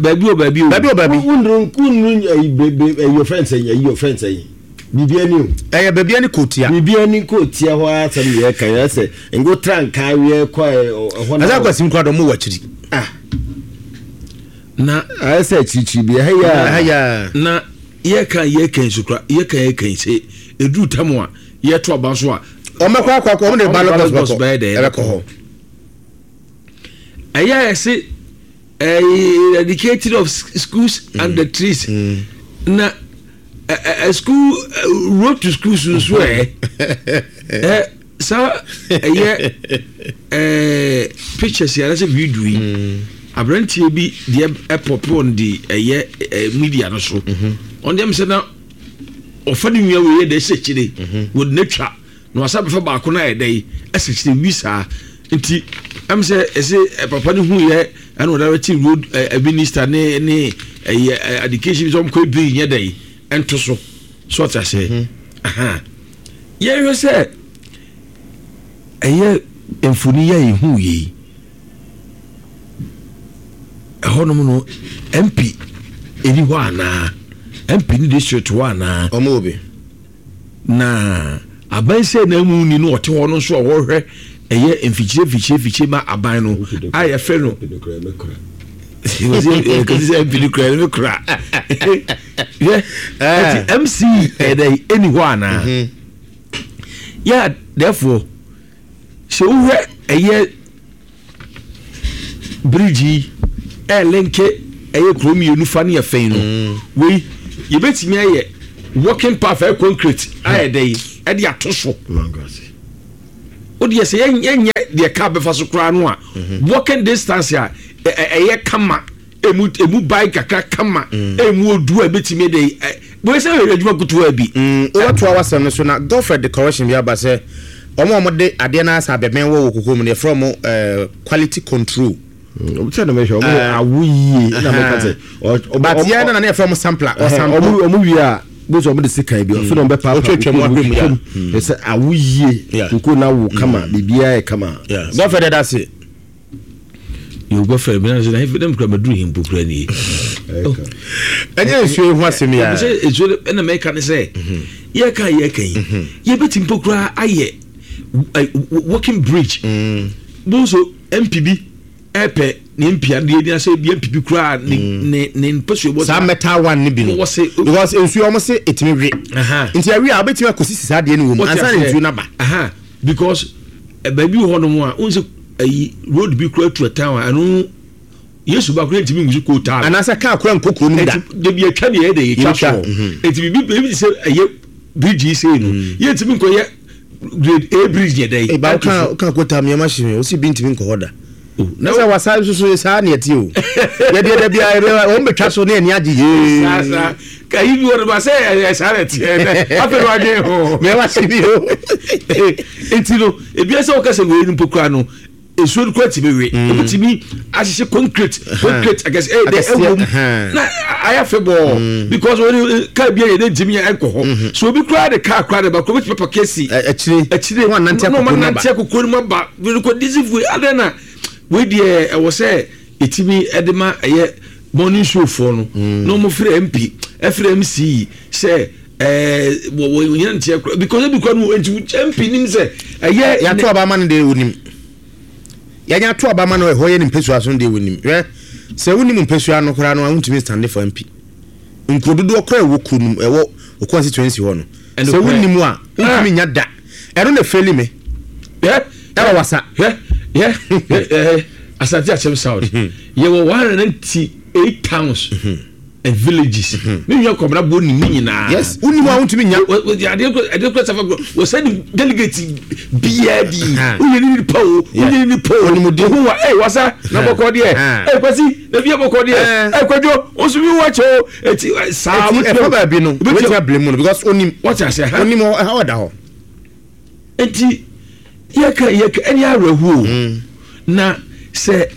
[SPEAKER 3] Baabi o baabi o.
[SPEAKER 2] Baabi o baabi.
[SPEAKER 4] Wunduru wunduru ayi bebe ayi your friends ayi ayi your friends ayi. Biribi ani o.
[SPEAKER 2] Ɛyɛ baabi ani kootia.
[SPEAKER 4] Biribi ani kootia hɔ ara asɛm yɛ kan yɛ sɛ ngo tra nka awiɛ kɔ ɛhɔ
[SPEAKER 2] na. Ɛsɛ akwasi nkura dɔm wɔ akyiri.
[SPEAKER 4] Ah.
[SPEAKER 3] Na
[SPEAKER 4] ayɛ sɛ akyirikyiri bi ɛha yɛ.
[SPEAKER 2] Ɛha yɛ.
[SPEAKER 3] Na yɛ kan yɛ kan sukura yɛ kan yɛ kan sɛ eduru tam a. Yɛto aba nso a.
[SPEAKER 2] Wɔn bɛkɔ akɔ akɔ wɔn de ballot box
[SPEAKER 3] bɛkɔ
[SPEAKER 2] ɛbɛkɔ hɔ.
[SPEAKER 3] Ɛyɛ a yɛse ɛɛ eradicating of schools mm. and the trees mm. na ɛ school road to schools nso ɛ ɛ saa ɛyɛ ɛɛ pictures yɛrɛ sɛ video yi mm. aberanteɛ bi deɛ ɛpɔpɔ on de ɛyɛ ɛ media no so ɔn deɛ mi sɛ na. ɔfa ne nua wei yɛ dɛ ɛsɛ akyire mhm. wɔde no atwa na wasa bɛfa baako no ayɛ dɛ ɛsɛ akyire wi saa nti ɛm sɛ ɛsɛ papa no hu yɛ ɛna ɔda bɛte road ɛ minister ne ne ɛyɛ education bi sɛ ɔmkɔ ebiri nyɛ dɛ ɛnto so so ɔte aseɛ mhm. yɛhwɛ sɛ ɛyɛ mfoni yɛ ehu yɛ yi. Ɛhɔnom no MP ɛni hɔ anaa? MP ne district hɔ anaa?
[SPEAKER 2] Ɔmo wɔ bi.
[SPEAKER 3] Na aban sɛ na mu ni no ɔte hɔ no nso a wɔhwɛ ɛyɛ mfikyire mfikyire mfikyire ma aban no a yɛfrɛ no kɔsi sɛ MP no kura no kura hwɛ ɛti MC ɛdɛ ɛni hɔ anaa? Mhm. Yeah, therefore Sɛ wohwɛ ɛyɛ bridge yi ɛɛlinke ɛyɛ kuro mmienu fa ne ɛfɛn no mm. Wei yɛbɛtumi ayɛ walking path ɛyɛ concrete ayɛ dɛ yi ɛde ato so. O deɛ sɛ yɛnyɛ deɛ car bɛfa so koraa no a mhm. walking distance a ɛyɛ kama emu emu ban kakra kama mm. emu odu a ebetumi de ɛ wei sɛ ɛyɛ adwuma kutuwa bi.
[SPEAKER 2] Mm, wobɛtoa w'asɛm no so na Godfred de correction bi aba sɛ wɔn a wɔde adeɛ no asa abɛbɛn wɔ wɔ koko mu no yɛfrɛ wɔn eh, quality control.
[SPEAKER 4] Mm, sɛ na mehwɛ wɔn awo yie na meka sɛ
[SPEAKER 2] but yɛn na na yɛfrɛ wɔn sampler ɔsample.
[SPEAKER 4] Wɔn wie a bó sɛ wɔn de sekan bi ɔfɛ na wɔn bɛ paapa
[SPEAKER 2] otwetwe mu ahwɛ mu
[SPEAKER 4] ya sɛ awo yie koko na awo kama biribiara yɛ kama.
[SPEAKER 2] Godfred ɛda ase.
[SPEAKER 3] Yɛ Godfred mi na sɛ na na mi kura ma duru hempo kura nie.
[SPEAKER 2] Oh. Ɛnyɛ nsuo yi ho asɛm yi a.
[SPEAKER 3] Sɛ nsuo ɛna mɛka ne sɛ yɛka yɛka yi mhm. yɛbɛti mpo kura ayɛ walking bridge. Mm. Bonso MP bi ɛpɛ ne MP adeɛ ni asɛ bi MP bi kura ne mm. ne ne mpɛsua bɔ
[SPEAKER 2] saa metal one ne bi no because nsuo wɔn se etimi we nti ɛwi a wobɛtumi akɔsisi saa adeɛ no wɔ mu ansa na nsuo no aba.
[SPEAKER 3] Because baabi wɔ hɔnom a wohu sɛ ayi road bi kura tu ɛtan a ɛno yesu ba kura ntumi ngu so kootaa.
[SPEAKER 2] Anaasɛ kaa kura nkɔ kuro no mu da.
[SPEAKER 3] Dabi atwa deɛ ɛyɛ de yɛtwa soɔ. Mhm. Eti bibi bibi te sɛ ɛyɛ bridge yi sei no mm. yɛntumi nkɔyɛ grade A bridge yɛ dɛ.
[SPEAKER 2] Eba woka woka kootaa mi ɛma hyɛ mi osi bi ntumi nkɔ hɔ da. Oh, na sɛ wasa nso so saa ne ɛte o yɛdeɛ da biara wɔn bɛtwa so ne ani agye yee
[SPEAKER 3] saa saa kayi bi wɔn ba sɛ ɛyɛ saa na ɛteɛ dɛ afei na wadwen ho
[SPEAKER 2] mɛ wase bi o
[SPEAKER 3] eti no ebi sɛ wɔka sɛ wei no mpo kura no nsuo no kura tumi we mm. ebi tumi ahyehyɛ concrete concrete akɛse ɛyɛ dɛ ɛwɔ mu na ayɛ fɛ bɔɔ mm. because wɔn kaa bi yɛ dɛ ntumi yɛ ɛnkɔ hɔ mm-hmm. so obi kura de kaa kura de ba kura obi tumi papa
[SPEAKER 2] akyire
[SPEAKER 3] akyire
[SPEAKER 2] na wɔn
[SPEAKER 3] anante akoko no mu aba rekɔ disi fue adɛn na wei deɛ ɛwɔ sɛ ɛtumi ɛde ma ɛyɛ morning show foɔ no mm. na wɔn frɛ mp ɛfrɛ mc sɛ ɛɛ wɔ wɔ nyina nteɛ kora because ebi kora no nti mp nim sɛ ɛyɛ.
[SPEAKER 2] yàtò aba ama no deɛ onim yɛnyɛ ato aba ama no ɛhɔ yɛ ne mpesua so deɛ onim hwɛ sɛ wonim mpesua no koraa no a wontumi stand for mp nkuro dodoɔ koraa ɛwɔ kuro no mu ɛwɔ o constituency hɔ no sɛ wonim a wontumi nya da ɛno na efeli me ɛwɔ wasa.
[SPEAKER 3] Asante Akyem South mhm. yɛwɔ 198 towns mhm. and villages mhm. me nua kɔmina bo nim ne nyinaa.
[SPEAKER 2] Yes wonim a wontumi nya.
[SPEAKER 3] Adeɛ kura safa kura wɔsɛ ni delegate biara di woyɛ ni nipa o woyɛ ni nipa o ohun wa ee wasa na bɔkɔ deɛ ee kwasi na bi yɛ bɔkɔ deɛ ee kwadwo osu bi wa kyɛ o eti saa.
[SPEAKER 2] Eti ɛfɔ baabi no wetin abiri mu no because onim
[SPEAKER 3] wɔte ase ha
[SPEAKER 2] onim ɛha ɔda hɔ.
[SPEAKER 3] Eti yɛka yɛka ɛne awerɛhoɔ mm. Na sɛ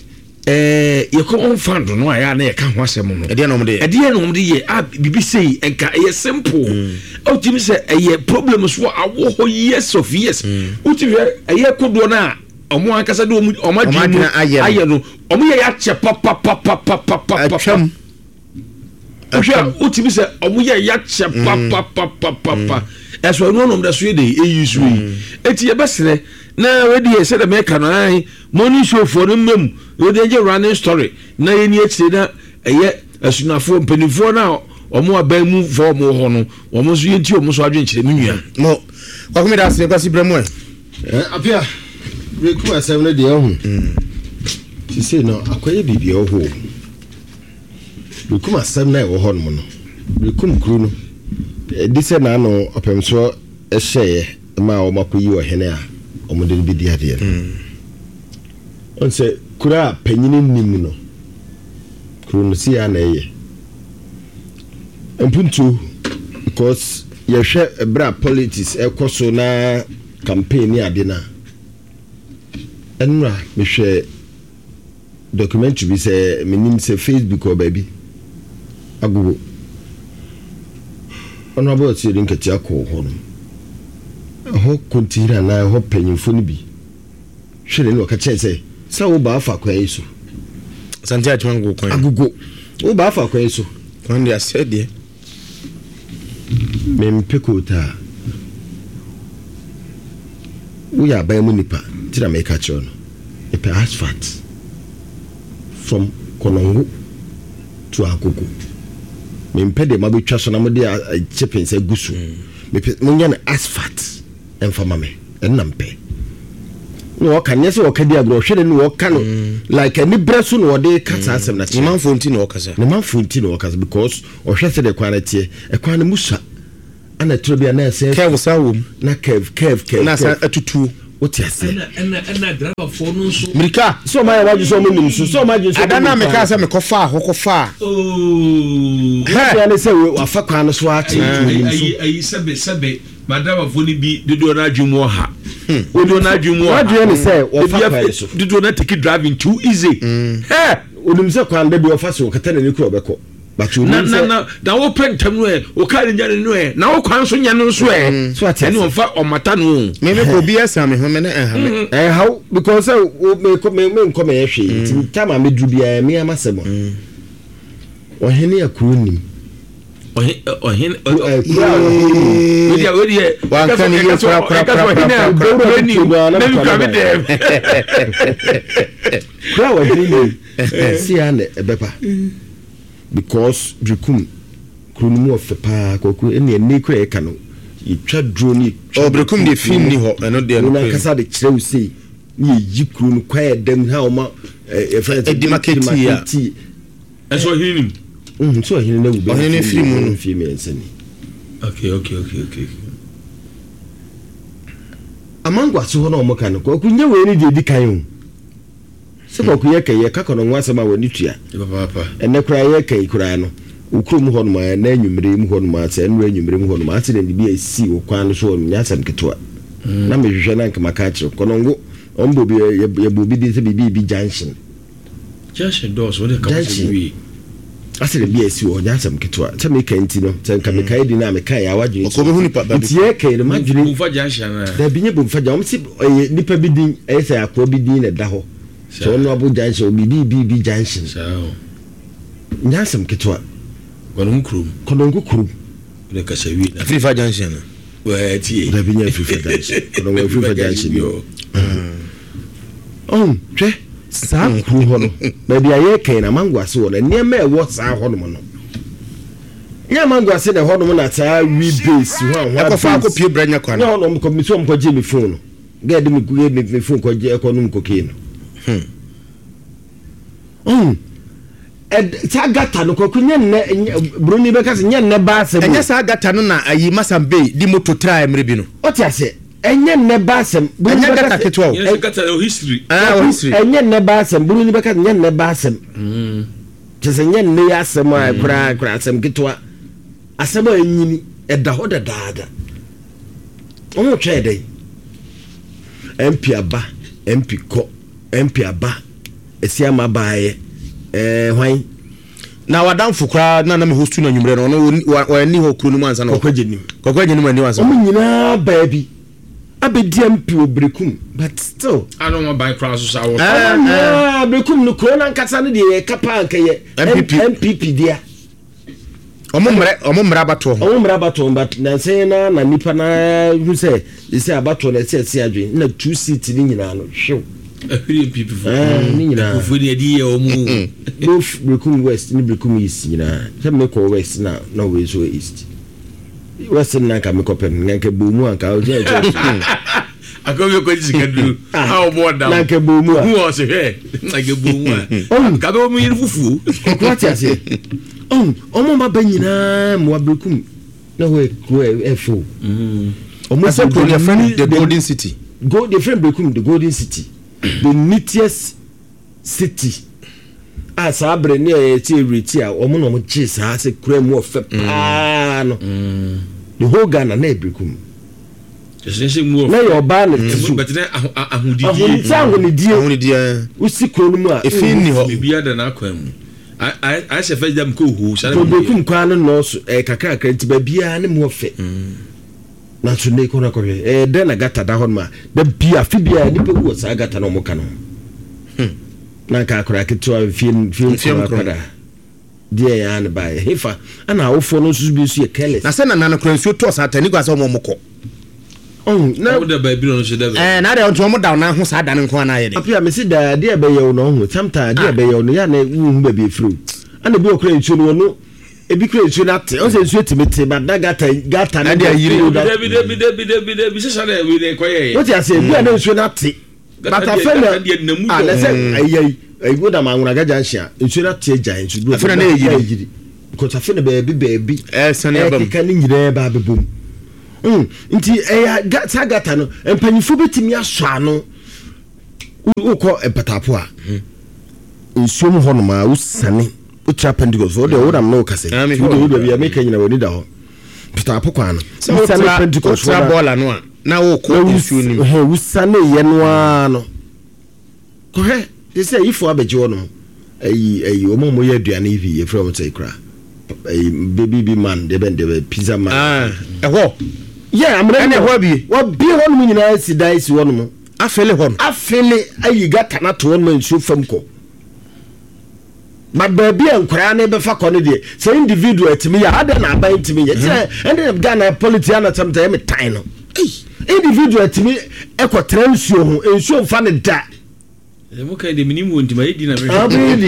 [SPEAKER 3] ɛɛ yɛkɔ wɔn fa do no a yɛ a na yɛka ho asɛm no
[SPEAKER 2] ɛdeɛ na wɔn de yɛ
[SPEAKER 3] ɛdeɛ na wɔn de yɛ a bibi sei nka ɛyɛ simple mm. Ɔtumi sɛ ɛyɛ problem so awɔ hɔ years of years mm. Wotumi hwɛ ɛyɛ kodoɔ no a wɔn ankasa de wɔn adwene mu ayɛ no wɔn yɛ yɛ akyɛ papapapapapapa
[SPEAKER 2] atwam.
[SPEAKER 3] Wohwɛ a wotumi sɛ ɔmo yɛ yakyɛ mm. papapapapa ɛso ɛno ɔnom da so yɛ de eyi so yi mm. Eti yɛbɛsrɛ na wedi yɛ sɛ dɛm ɛka no ayi morning show foɔ no mmam wɔde ɛgye running story na yɛn ni akyire na ɛyɛ asunafoɔ mpanimfoɔ na ɔmo aban mu fɔ ɔmo wɔ hɔ no wɔn nso yɛn ti ɔmo nso adwenkyerɛ mi nua.
[SPEAKER 2] Mo kwakumi da ase kwasi brɛ mu ɛ.
[SPEAKER 4] Apia reku asɛm no deɛ ɔho sisei no akɔyɛ biribi ɔho. Berekum asɛm no a ɛwɔ hɔnom no, Berekum kuro no, ɛdi sɛ n'ano ɔpɛmsoɔ hyɛeɛ maa wɔakɔyi ɔhene a wɔde no bɛdi adeɛ no. Ɔn sɛ kuro a panyini nni mu no, kuro no sei ara na ɛyɛ. Mpuntuo, because yɛhwɛ berɛ a politics ɛkɔ so na campaign ne ade no a, ɛnora mehwɛ Documentary bi sɛ menim sɛ Facebook or baabi agogo Honourable Asiedu Nketia kɔɔ hɔ nom ɛhɔ kontihene anaa ɛhɔ panyinfoɔ no bi hwɛ ne na ɔka kyerɛ sɛ sɛ wo ba afa kwan yi so
[SPEAKER 2] Asante Akyem Agogo kwan
[SPEAKER 4] Agogo wo ba afa kwan yi so
[SPEAKER 2] kwan de asɛ deɛ
[SPEAKER 4] Mempɛ kootaa. Woyɛ aban mu nipa nti na meka kyerɛ no. Mepɛ asphalt from Konongo to Agogo. Mempɛ deɛ moabɛtwa so na mode chippings agu so. Mepɛ monyɛ no asphalt mfa ma me. Ɛno na mepɛ. Na ɔka nyɛ sɛ ɔka di agorɔ, ɔhwɛ n'ani na ɔka no like anibrɛ so na ɔde ka saa asɛm no akyerɛ.
[SPEAKER 2] Ne manfoɔ nti na ɔkasa.
[SPEAKER 4] Ne manfoɔ nti na ɔkasa because ɔhwɛ sɛdeɛ kwan no teɛ. Ɛkwan no mu sua. Ɛna ɛtoro bi a na ɛsɛ.
[SPEAKER 2] Curve san wɔ mu.
[SPEAKER 4] Na curve curve curve.
[SPEAKER 2] Na asan atutuo.
[SPEAKER 4] Wote aseɛ.
[SPEAKER 3] Ɛna ɛna ɛna driverfoɔ no nso.
[SPEAKER 2] Mirika.
[SPEAKER 4] Sɛ ɔmo ayɛ wadwi sɛ ɔmo nim so sɛ ɔmo adwene sɛ.
[SPEAKER 2] Ada no a mekaa sɛ mekɔfaa hɔ kɔfaa.
[SPEAKER 3] Ooo.
[SPEAKER 4] Hɛ. Ne sɛ wafa kwan no so akyɛ nti onim so.
[SPEAKER 3] Ayi ayi sɛbe sɛbe ma driverfoɔ no bi dodoɔ no adwene mu ɔha. Dodoɔ no adwene mu ɔha.
[SPEAKER 4] Wadwene ne sɛ wɔfa kwan no so.
[SPEAKER 3] Dodoɔ no atiki driving too easy. Hɛ.
[SPEAKER 4] Onim sɛ kwan da bi ɔfa so ɔkata n'ani kura ɔbɛkɔ. But
[SPEAKER 3] na
[SPEAKER 4] onim
[SPEAKER 3] na
[SPEAKER 4] sɛ.
[SPEAKER 3] na na wopɛ ntɛm no ɛ wo kaa no nya no no ɛ na wo kwan nso nyɛ no nso ɛ
[SPEAKER 4] So ate
[SPEAKER 3] ɛne
[SPEAKER 4] ase.
[SPEAKER 3] ɔmfa ɔmata no o.
[SPEAKER 2] Me me kɔ obi asan me ho me ne ɛnha me.
[SPEAKER 4] Ɛnhaw because sɛ wo me kɔ me me nkɔ mɛyɛ hwee nti time a meduru biara me ama sɛm a. Ɔhene akuro nim.
[SPEAKER 3] Ɔhe ɔhene
[SPEAKER 4] Kuro ɛ kuro a ɔhene nim.
[SPEAKER 3] Wedeɛ wedeɛ
[SPEAKER 2] Wanka ne yie kora kora kora kora
[SPEAKER 3] ɔhene a
[SPEAKER 2] kora.
[SPEAKER 3] kuro nim na mi kura mi dɛm.
[SPEAKER 4] Kuro a ɔhene nim si a na ɛbɛba because Berekum kuro no mu ɔfɛ paa kɔkɔ ɛne ɛnɛ kura yɛka no yɛtwa duro ne yɛtwa
[SPEAKER 2] Oh, Berekum deɛ fi nni hɔ ɛno deɛ
[SPEAKER 4] kuro no
[SPEAKER 2] nokorɛ.
[SPEAKER 4] ankasa de kyerɛ wo sei ne yɛyi kuro no kwan ɛdam ha ɔma yɛfrɛ no sɛ
[SPEAKER 2] Ɛdimaketi a.
[SPEAKER 4] demarcate.
[SPEAKER 3] Ɛsɛ ɔhene nim.
[SPEAKER 4] Mhm, sɛ ɔhene no awu bɛyɛ
[SPEAKER 2] Ɔhene no
[SPEAKER 4] mfeɛ
[SPEAKER 2] firi mu no.
[SPEAKER 4] mfeɛ mmiɛnsa ni.
[SPEAKER 3] Okay okay okay okay.
[SPEAKER 4] Amango ase hɔ na wɔn ka no kwaku nyɛ wei ne deɛ edi kan o sɛ kwaku yɛ kɛ yɛ ka kɔnɔ ho asɛm a w'ani tua
[SPEAKER 3] Papaapa.
[SPEAKER 4] ɛnɛ koraa yɛ kɛ koraa no wo kurom hɔ nom a ɛnɛ anwummere mu hɔ nom a sɛ ɛnora anwummere mu hɔ nom accident bi a esi wɔ kwan no so hɔ nom nyɛ asɛm ketewa na mehwehwɛ na nka maka akyerɛ kɔnɔngo wɔn bɔ obi yɛ yɛbɔ obi din sɛ biribi bi junction
[SPEAKER 3] Junction dɔɔso wode ka
[SPEAKER 4] junction
[SPEAKER 3] sɛ wie.
[SPEAKER 4] accident bi a esi wɔ hɔ nyɛ asɛm ketewa sɛ meka nti no sɛ nka meka edi na meka yɛ awadwene
[SPEAKER 2] Ɔkɔ bɛhu nipa ba bi.
[SPEAKER 4] nti yɛ kɛ no madwene
[SPEAKER 3] Bomfa junction anaa.
[SPEAKER 4] dabi nye bomfa gya wɔn si ɛyɛ nipa bi din ɛyɛ sɛ akoa bi din na ɛda hɔ sɛ ɔno abo junction obi bi bi bi junction
[SPEAKER 3] Saa o.
[SPEAKER 4] nyɛ asɛm ketewa
[SPEAKER 3] Kɔnɔngo kurom.
[SPEAKER 4] Kɔnɔngo kurom
[SPEAKER 3] Wode kasa wie na.
[SPEAKER 2] Afirifa junction no.
[SPEAKER 3] Wɛɛ tie.
[SPEAKER 4] Dabi nyɛ afirifa junction Kɔnɔngo afirifa junction ni ɔn hwɛ saa kuro hɔ no baabi a yɛkɛn na mango ase wɔ no nneɛma a ɛwɔ saa hɔ nom no nyɛ mango ase na ɛhɔ nom na saa wi base ho a ho a
[SPEAKER 2] Ɛkɔfa
[SPEAKER 4] base
[SPEAKER 2] akɔpie brɛ nyɛ kwan.
[SPEAKER 4] nyɛ hɔ nom kɔ mi sɛ ɔmo kɔgye mi phone no gɛɛ de mi mi mi phone kɔgye ɛkɔ nom cocaine no ɔn ɛd saa gata no kɔkɔ nyɛ nnɛ nyɛ buroni bɛka sɛ nyɛ nnɛ ba asɛm o
[SPEAKER 2] Ɛnyɛ saa gata no na ayi Masam Bey di moto tra mmerɛ bi no.
[SPEAKER 4] ɔte aseɛ ɛnyɛ nnɛ ba asɛm buroni
[SPEAKER 2] Ɛnyɛ
[SPEAKER 4] bɛka
[SPEAKER 2] gata
[SPEAKER 4] sɛ
[SPEAKER 2] ketewa o.
[SPEAKER 3] Yɛn sɛ kata o history.
[SPEAKER 2] Ah, wɔ history.
[SPEAKER 4] ɛnyɛ nnɛ ba asɛm buroni bɛka sɛ nyɛ nnɛ ba asɛm kyɛ sɛ nyɛ nnɛ yi asɛm a koraa koraa asɛm ketewa asɛm a ɛnyini ɛda hɔ dadaada wɔn twɛn dɛn mp aba mp kɔ mp aba esi ama baayɛ ɛɛ hwan
[SPEAKER 2] Na wadamfo koraa na na me host no anwummerɛ no ɔno wɔani hɔ kuro no mu ansa na
[SPEAKER 4] Kɔkɔ Agyenim.
[SPEAKER 2] Kɔkɔ Agyenim ani hɔ ansa.
[SPEAKER 4] Wɔn nyinaa baa bi abɛdi mp wɔ Berekum but still.
[SPEAKER 3] Ano wɔn ban koraa so saa wɔ.
[SPEAKER 4] Wɔn nyinaa Berekum no kuro no ankasa no deɛ yɛka paa nka yɛ
[SPEAKER 2] NPP.
[SPEAKER 4] NPP dea.
[SPEAKER 2] Ɔmo mmerɛ ɔmo mmerɛ abatoɔ ho.
[SPEAKER 4] Ɔmo mmerɛ abatoɔ but nansa yi na na nipa na hu sɛ sɛ abatoɔ no ɛsɛ ɛsɛ adwene na two seat ne nyinaa no hwew.
[SPEAKER 3] Ahwiri NPP fo.
[SPEAKER 4] Ɛɛ ne nyinaa.
[SPEAKER 3] Nkurɔfoɔ ni ɛde yɛ ɔmo.
[SPEAKER 4] Both Berekum West ne Berekum East nyinaa sɛ mekɔ West na na wei nso wɔ East. West no na nka mekɔ pɛ no na nka bɔ mu anka ɔgyina ɛkyɛ.
[SPEAKER 3] Akɔbi kɔ sika duro. A ɔbɔ ɔdam.
[SPEAKER 4] Na nka bɔ mu a.
[SPEAKER 3] Hu ɔsɛ hwɛ. Na nka bɔ mu a. Ka bɛ wɔn yiri fufuo.
[SPEAKER 4] Ɔkò ate aseɛ. Ɔn ɔmo ma ba nyinaa mmoa Berekum na hɔ yɛ kuro ɛfɛ o. Ɔmo
[SPEAKER 2] Ɛsɛ kuro no yɛfrɛ no the golden city.
[SPEAKER 4] Gold yɛfrɛ no Berekum the golden city the neatest city a saa bere ne ɛyɛ ti ewureti a wɔn na wɔn gye saa sɛ kura mu ɔfɛ paa no the whole Ghana na yɛ Berekum na yɛ ɔbaa na ti so
[SPEAKER 3] Bɛtɛ ahodidie.
[SPEAKER 4] ahonidie ahonidie
[SPEAKER 2] Ahonidie.
[SPEAKER 4] wosi kuro no mu a
[SPEAKER 2] Efi nni hɔ.
[SPEAKER 3] Ebi ada n'akwan mu. Ayɛ sɛ fɛ dam kɔ ohu.
[SPEAKER 4] to Berekum kwan no nɔɔso ɛyɛ kakrakra nti baabiara ne mu ɔfɛ nanso ne kɔ no akɔhwɛ ɛyɛ dɛn na gata da hɔ nom a da bi afe biara nipa wu wɔ saa gata na ɔmo ka no ho na nka akwadaa ketewa mfie mfie
[SPEAKER 2] Mfie
[SPEAKER 4] nkron
[SPEAKER 2] nkron.
[SPEAKER 4] akwadaa deɛ yɛn ano baeɛ hefa ɛna awofoɔ no nso bi nso yɛ careless
[SPEAKER 2] Na sɛ nana no kora nsuo tɔɔ saa ta ni kwa sɛ ɔmo ɔmo kɔ.
[SPEAKER 4] ɔn na
[SPEAKER 3] Ɔmo da baabi na ɔno nso da baabi.
[SPEAKER 2] Ɛɛ na adeɛ nti ɔmo da ɔnan ho saa da no nko ara na ayɛ de.
[SPEAKER 4] afei a mesi daa adeɛ a ɛbɛyɛ wo no ɔho sometimes adeɛ a ɛbɛyɛ wo no yɛ a na wohu baabi efiri o ɛna ebi wɔ kora nsuo no wɔno ebi kora nsuo no ate ɔsɛ nsuo tumi te but na gata gata no
[SPEAKER 2] Ɛde ayiri.
[SPEAKER 3] Dabi dabi dabi dabi dabi sisa dɛ wei de kɔ yɛ yɛ.
[SPEAKER 4] wote ase ebi a na nsuo no ate. But afei na ah na sɛ ɛyɛ yi ɛyi wo dam anwonaga junction a nsuo no ate agya nso duro
[SPEAKER 2] Afei na na ɛyiri.
[SPEAKER 4] Because afei na baabi baabi
[SPEAKER 2] Ɛresane aba mu.
[SPEAKER 4] ɛkeka ne nyinaa ba abɛbɔ mu. Nti ɛyɛ ga saa gata no mpanyinfoɔ bɛtumi asɔ ano. Wokɔ mpatapo a nsuo mu hɔnom a wosane wotra Pentecost wo deɛ wonam ne wokasa yi wode wo baabi a meka nyina w'ani da hɔ mpatapo kwan no wosane Pentecost
[SPEAKER 2] wotra bɔɔla no a na wokɔ nsuo no
[SPEAKER 4] mu wosane yɛ no ara no Kɔhwɛ, te sɛ ayifoɔ abɛgye hɔ nom, ayi, ayi, wɔn a wɔyɛ aduane yi bi, yɛfrɛ wɔn sɛ kura, ayi, baby bi man, deɛ bɛn, deɛ bɛn, pizza man.
[SPEAKER 2] Ah, ɛhɔ.
[SPEAKER 4] Yɛ, amena
[SPEAKER 2] Ɛna ɛhɔ abie.
[SPEAKER 4] Wɔabie hɔ nom nyinaa si dan si hɔ nom.
[SPEAKER 2] Afele hɔ no.
[SPEAKER 4] Afele ayi gata no ato hɔ nom a nsuo fam kɔ. But baabi a nkwadaa no bɛfa kɔ no deɛ, sɛ individual tumi yɛ a, adɛn na aban ntumi nyɛ? Kyerɛ, ɛnde Ghana politics ana sometimes ɛyɛ me tan no. Individual tumi kɔ tra nsuo ho, nsuo nfa no da.
[SPEAKER 3] Ɛsɛ mo kan de minim wɔ nti ma yɛ di na mehwɛ.
[SPEAKER 4] Abiri di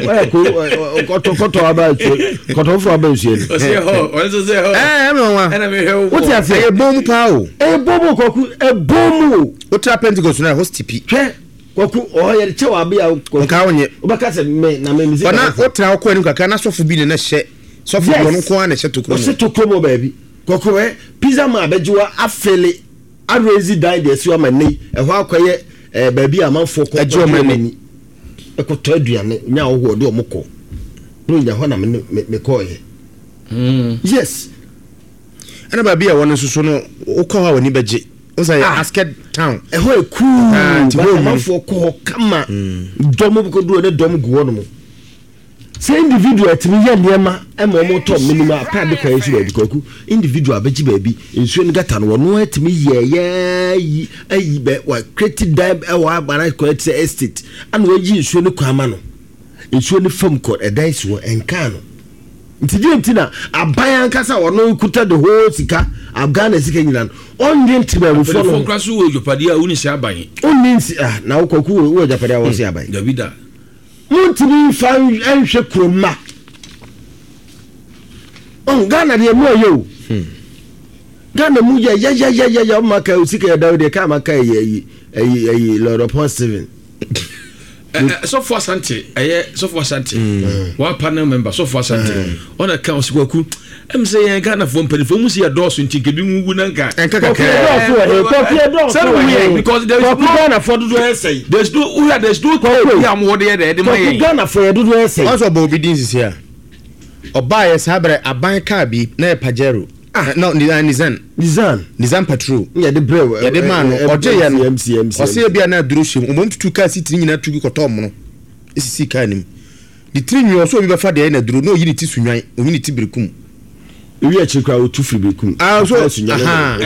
[SPEAKER 4] ɔyɛ ko kɔtɔ kɔtɔ aba nsuo kɔtɔ foforɔ aba nsuo no.
[SPEAKER 3] Ɔsɛ hɔ ɔno nso sɛ hɔ.
[SPEAKER 2] Ɛɛ ɛmi wɔn wa.
[SPEAKER 3] Ɛna mehwɛ wo.
[SPEAKER 4] Wote ase.
[SPEAKER 2] Ɛyɛ bɔn mu paa o.
[SPEAKER 4] Ɛyɛ bɔn mu kɔku ɛbɔn mu o.
[SPEAKER 2] Wotra Pentecost na ɛhɔ stipi.
[SPEAKER 4] Hwɛ kɔku ɔhɔ yɛde kyɛ wɔ abe a kɔku.
[SPEAKER 2] Nka wonyɛ.
[SPEAKER 4] Wobɛka sɛ mɛ na mɛ mi si.
[SPEAKER 2] Ɔna wotra wokɔ anim kakra na sɔfo bi na na hyɛ sɔfo bi ɔno nko ara na ɛhyɛ tokuro mu.
[SPEAKER 4] Ɔhyɛ tokuro mu wɔ baabi. Kɔkɔ ɛ pizza man abɛgye wa afele arezi dan de asi hɔ ama nnɛ yi ɛhɔ akɔyɛ ɛɛ baabi a amanfoɔ kɔ
[SPEAKER 2] Ɛgye wɔn ani.
[SPEAKER 4] ɛkɔtɔ aduane nya ahɔhoɔ de wɔn kɔ na onya hɔ na me me me kɔɔyɛ. Yes.
[SPEAKER 2] Ɛna baabi a ɛwɔ no nso so no wokɔ hɔ a w'ani bɛgye. Wo sɛ yɛ
[SPEAKER 4] Ah.
[SPEAKER 2] Asked town.
[SPEAKER 4] Ɛhɔ yɛ cool
[SPEAKER 2] Ah, nti
[SPEAKER 4] but
[SPEAKER 2] hɔ nwunu.
[SPEAKER 4] amanfoɔ kɔ hɔ kama dɔm kɔduru hɔ ne dɔm gu hɔ nom. Sɛ individual tumi yɛ nneɛma ma wɔn tɔ menim ataade kwan nso baabi kwaku individual bɛgye baabi nsuo no gata no wɔn atumi yɛɛyɛ ayi ayi bɛ wa create dan ɛwɔ abara kwan te sɛ estate ana wɔayi nsuo no kwan ama no nsuo no fam kɔ ɛdan si hɔ ɛnkaa no nti deɛ nti na aban ankasa ɔno kuta the whole sika Ghana sika nyina no ɔnwe ntemamufoɔ no
[SPEAKER 3] ho. Mpanyinfoɔ so wɔ agyapadeɛ a wonni sɛ aban.
[SPEAKER 4] Ɔnni nsi ah na wo kwaku wɔ agyapadeɛ a wɔn sɛ aban.
[SPEAKER 3] Dabi da.
[SPEAKER 4] Montumi nfa nhwɛ kuro mma. Ɔn Ghana deɛ mu ɛyɛ o. Hmm. Ghana mu yɛ yɛyɛyɛyɛ ɔma ka sika yɛ dawo deɛ kaa ma ka ɛyɛ ɛyi ɛyi ɛyi Lord Upon Steven.
[SPEAKER 3] Sɔfo Asante ɛyɛ Sɔfo Asante mm. wa panel member Sɔfo Asante mm. ɔna ka ɔsi kwaku ɛm sɛ yɛn Ghanafoɔ mpanimfoɔ mu si yɛ dɔɔso nti nkebi mu wu na nka.
[SPEAKER 2] Nka kakra
[SPEAKER 4] dɔɔso wɔ he kwaku yɛ dɔɔso wɔ he
[SPEAKER 3] because there is
[SPEAKER 4] kwaku
[SPEAKER 3] no
[SPEAKER 4] Ghanafoɔ dodoɔ yɛ sɛyi.
[SPEAKER 3] there is no wura there is no
[SPEAKER 4] kwaku
[SPEAKER 3] bi a mo wɔ de yɛ dɛ ɛde ma
[SPEAKER 4] kwaku
[SPEAKER 3] yɛn.
[SPEAKER 4] Ghanafoɔ yɛ dodoɔ yɛ sɛyi.
[SPEAKER 2] Ɔsɛ ɔbɔ obi din sisi a ɔbaa yɛ saa bɛrɛ aban kaa bi na yɛ Pajero.
[SPEAKER 4] Ah.
[SPEAKER 2] No, Nizan.
[SPEAKER 4] Nizan.
[SPEAKER 2] Nizan patrol.
[SPEAKER 4] Yɛde brɛ
[SPEAKER 2] yɛde maa no ɔgye yɛ no
[SPEAKER 4] MC MC.
[SPEAKER 2] Ɔsɛ ebi a na aduro hyɛ mu ɔmom tutu kaa si tiri nyinaa tugu kɔtɔ mono esisi kaa nim ne tiri nwi ɔsɛ obi bɛfa deɛ na aduro na oyi ne ti sunwan oyi ne ti berekum.
[SPEAKER 4] Ewi akyiri koraa otu firi berekum.
[SPEAKER 2] Ah so aha.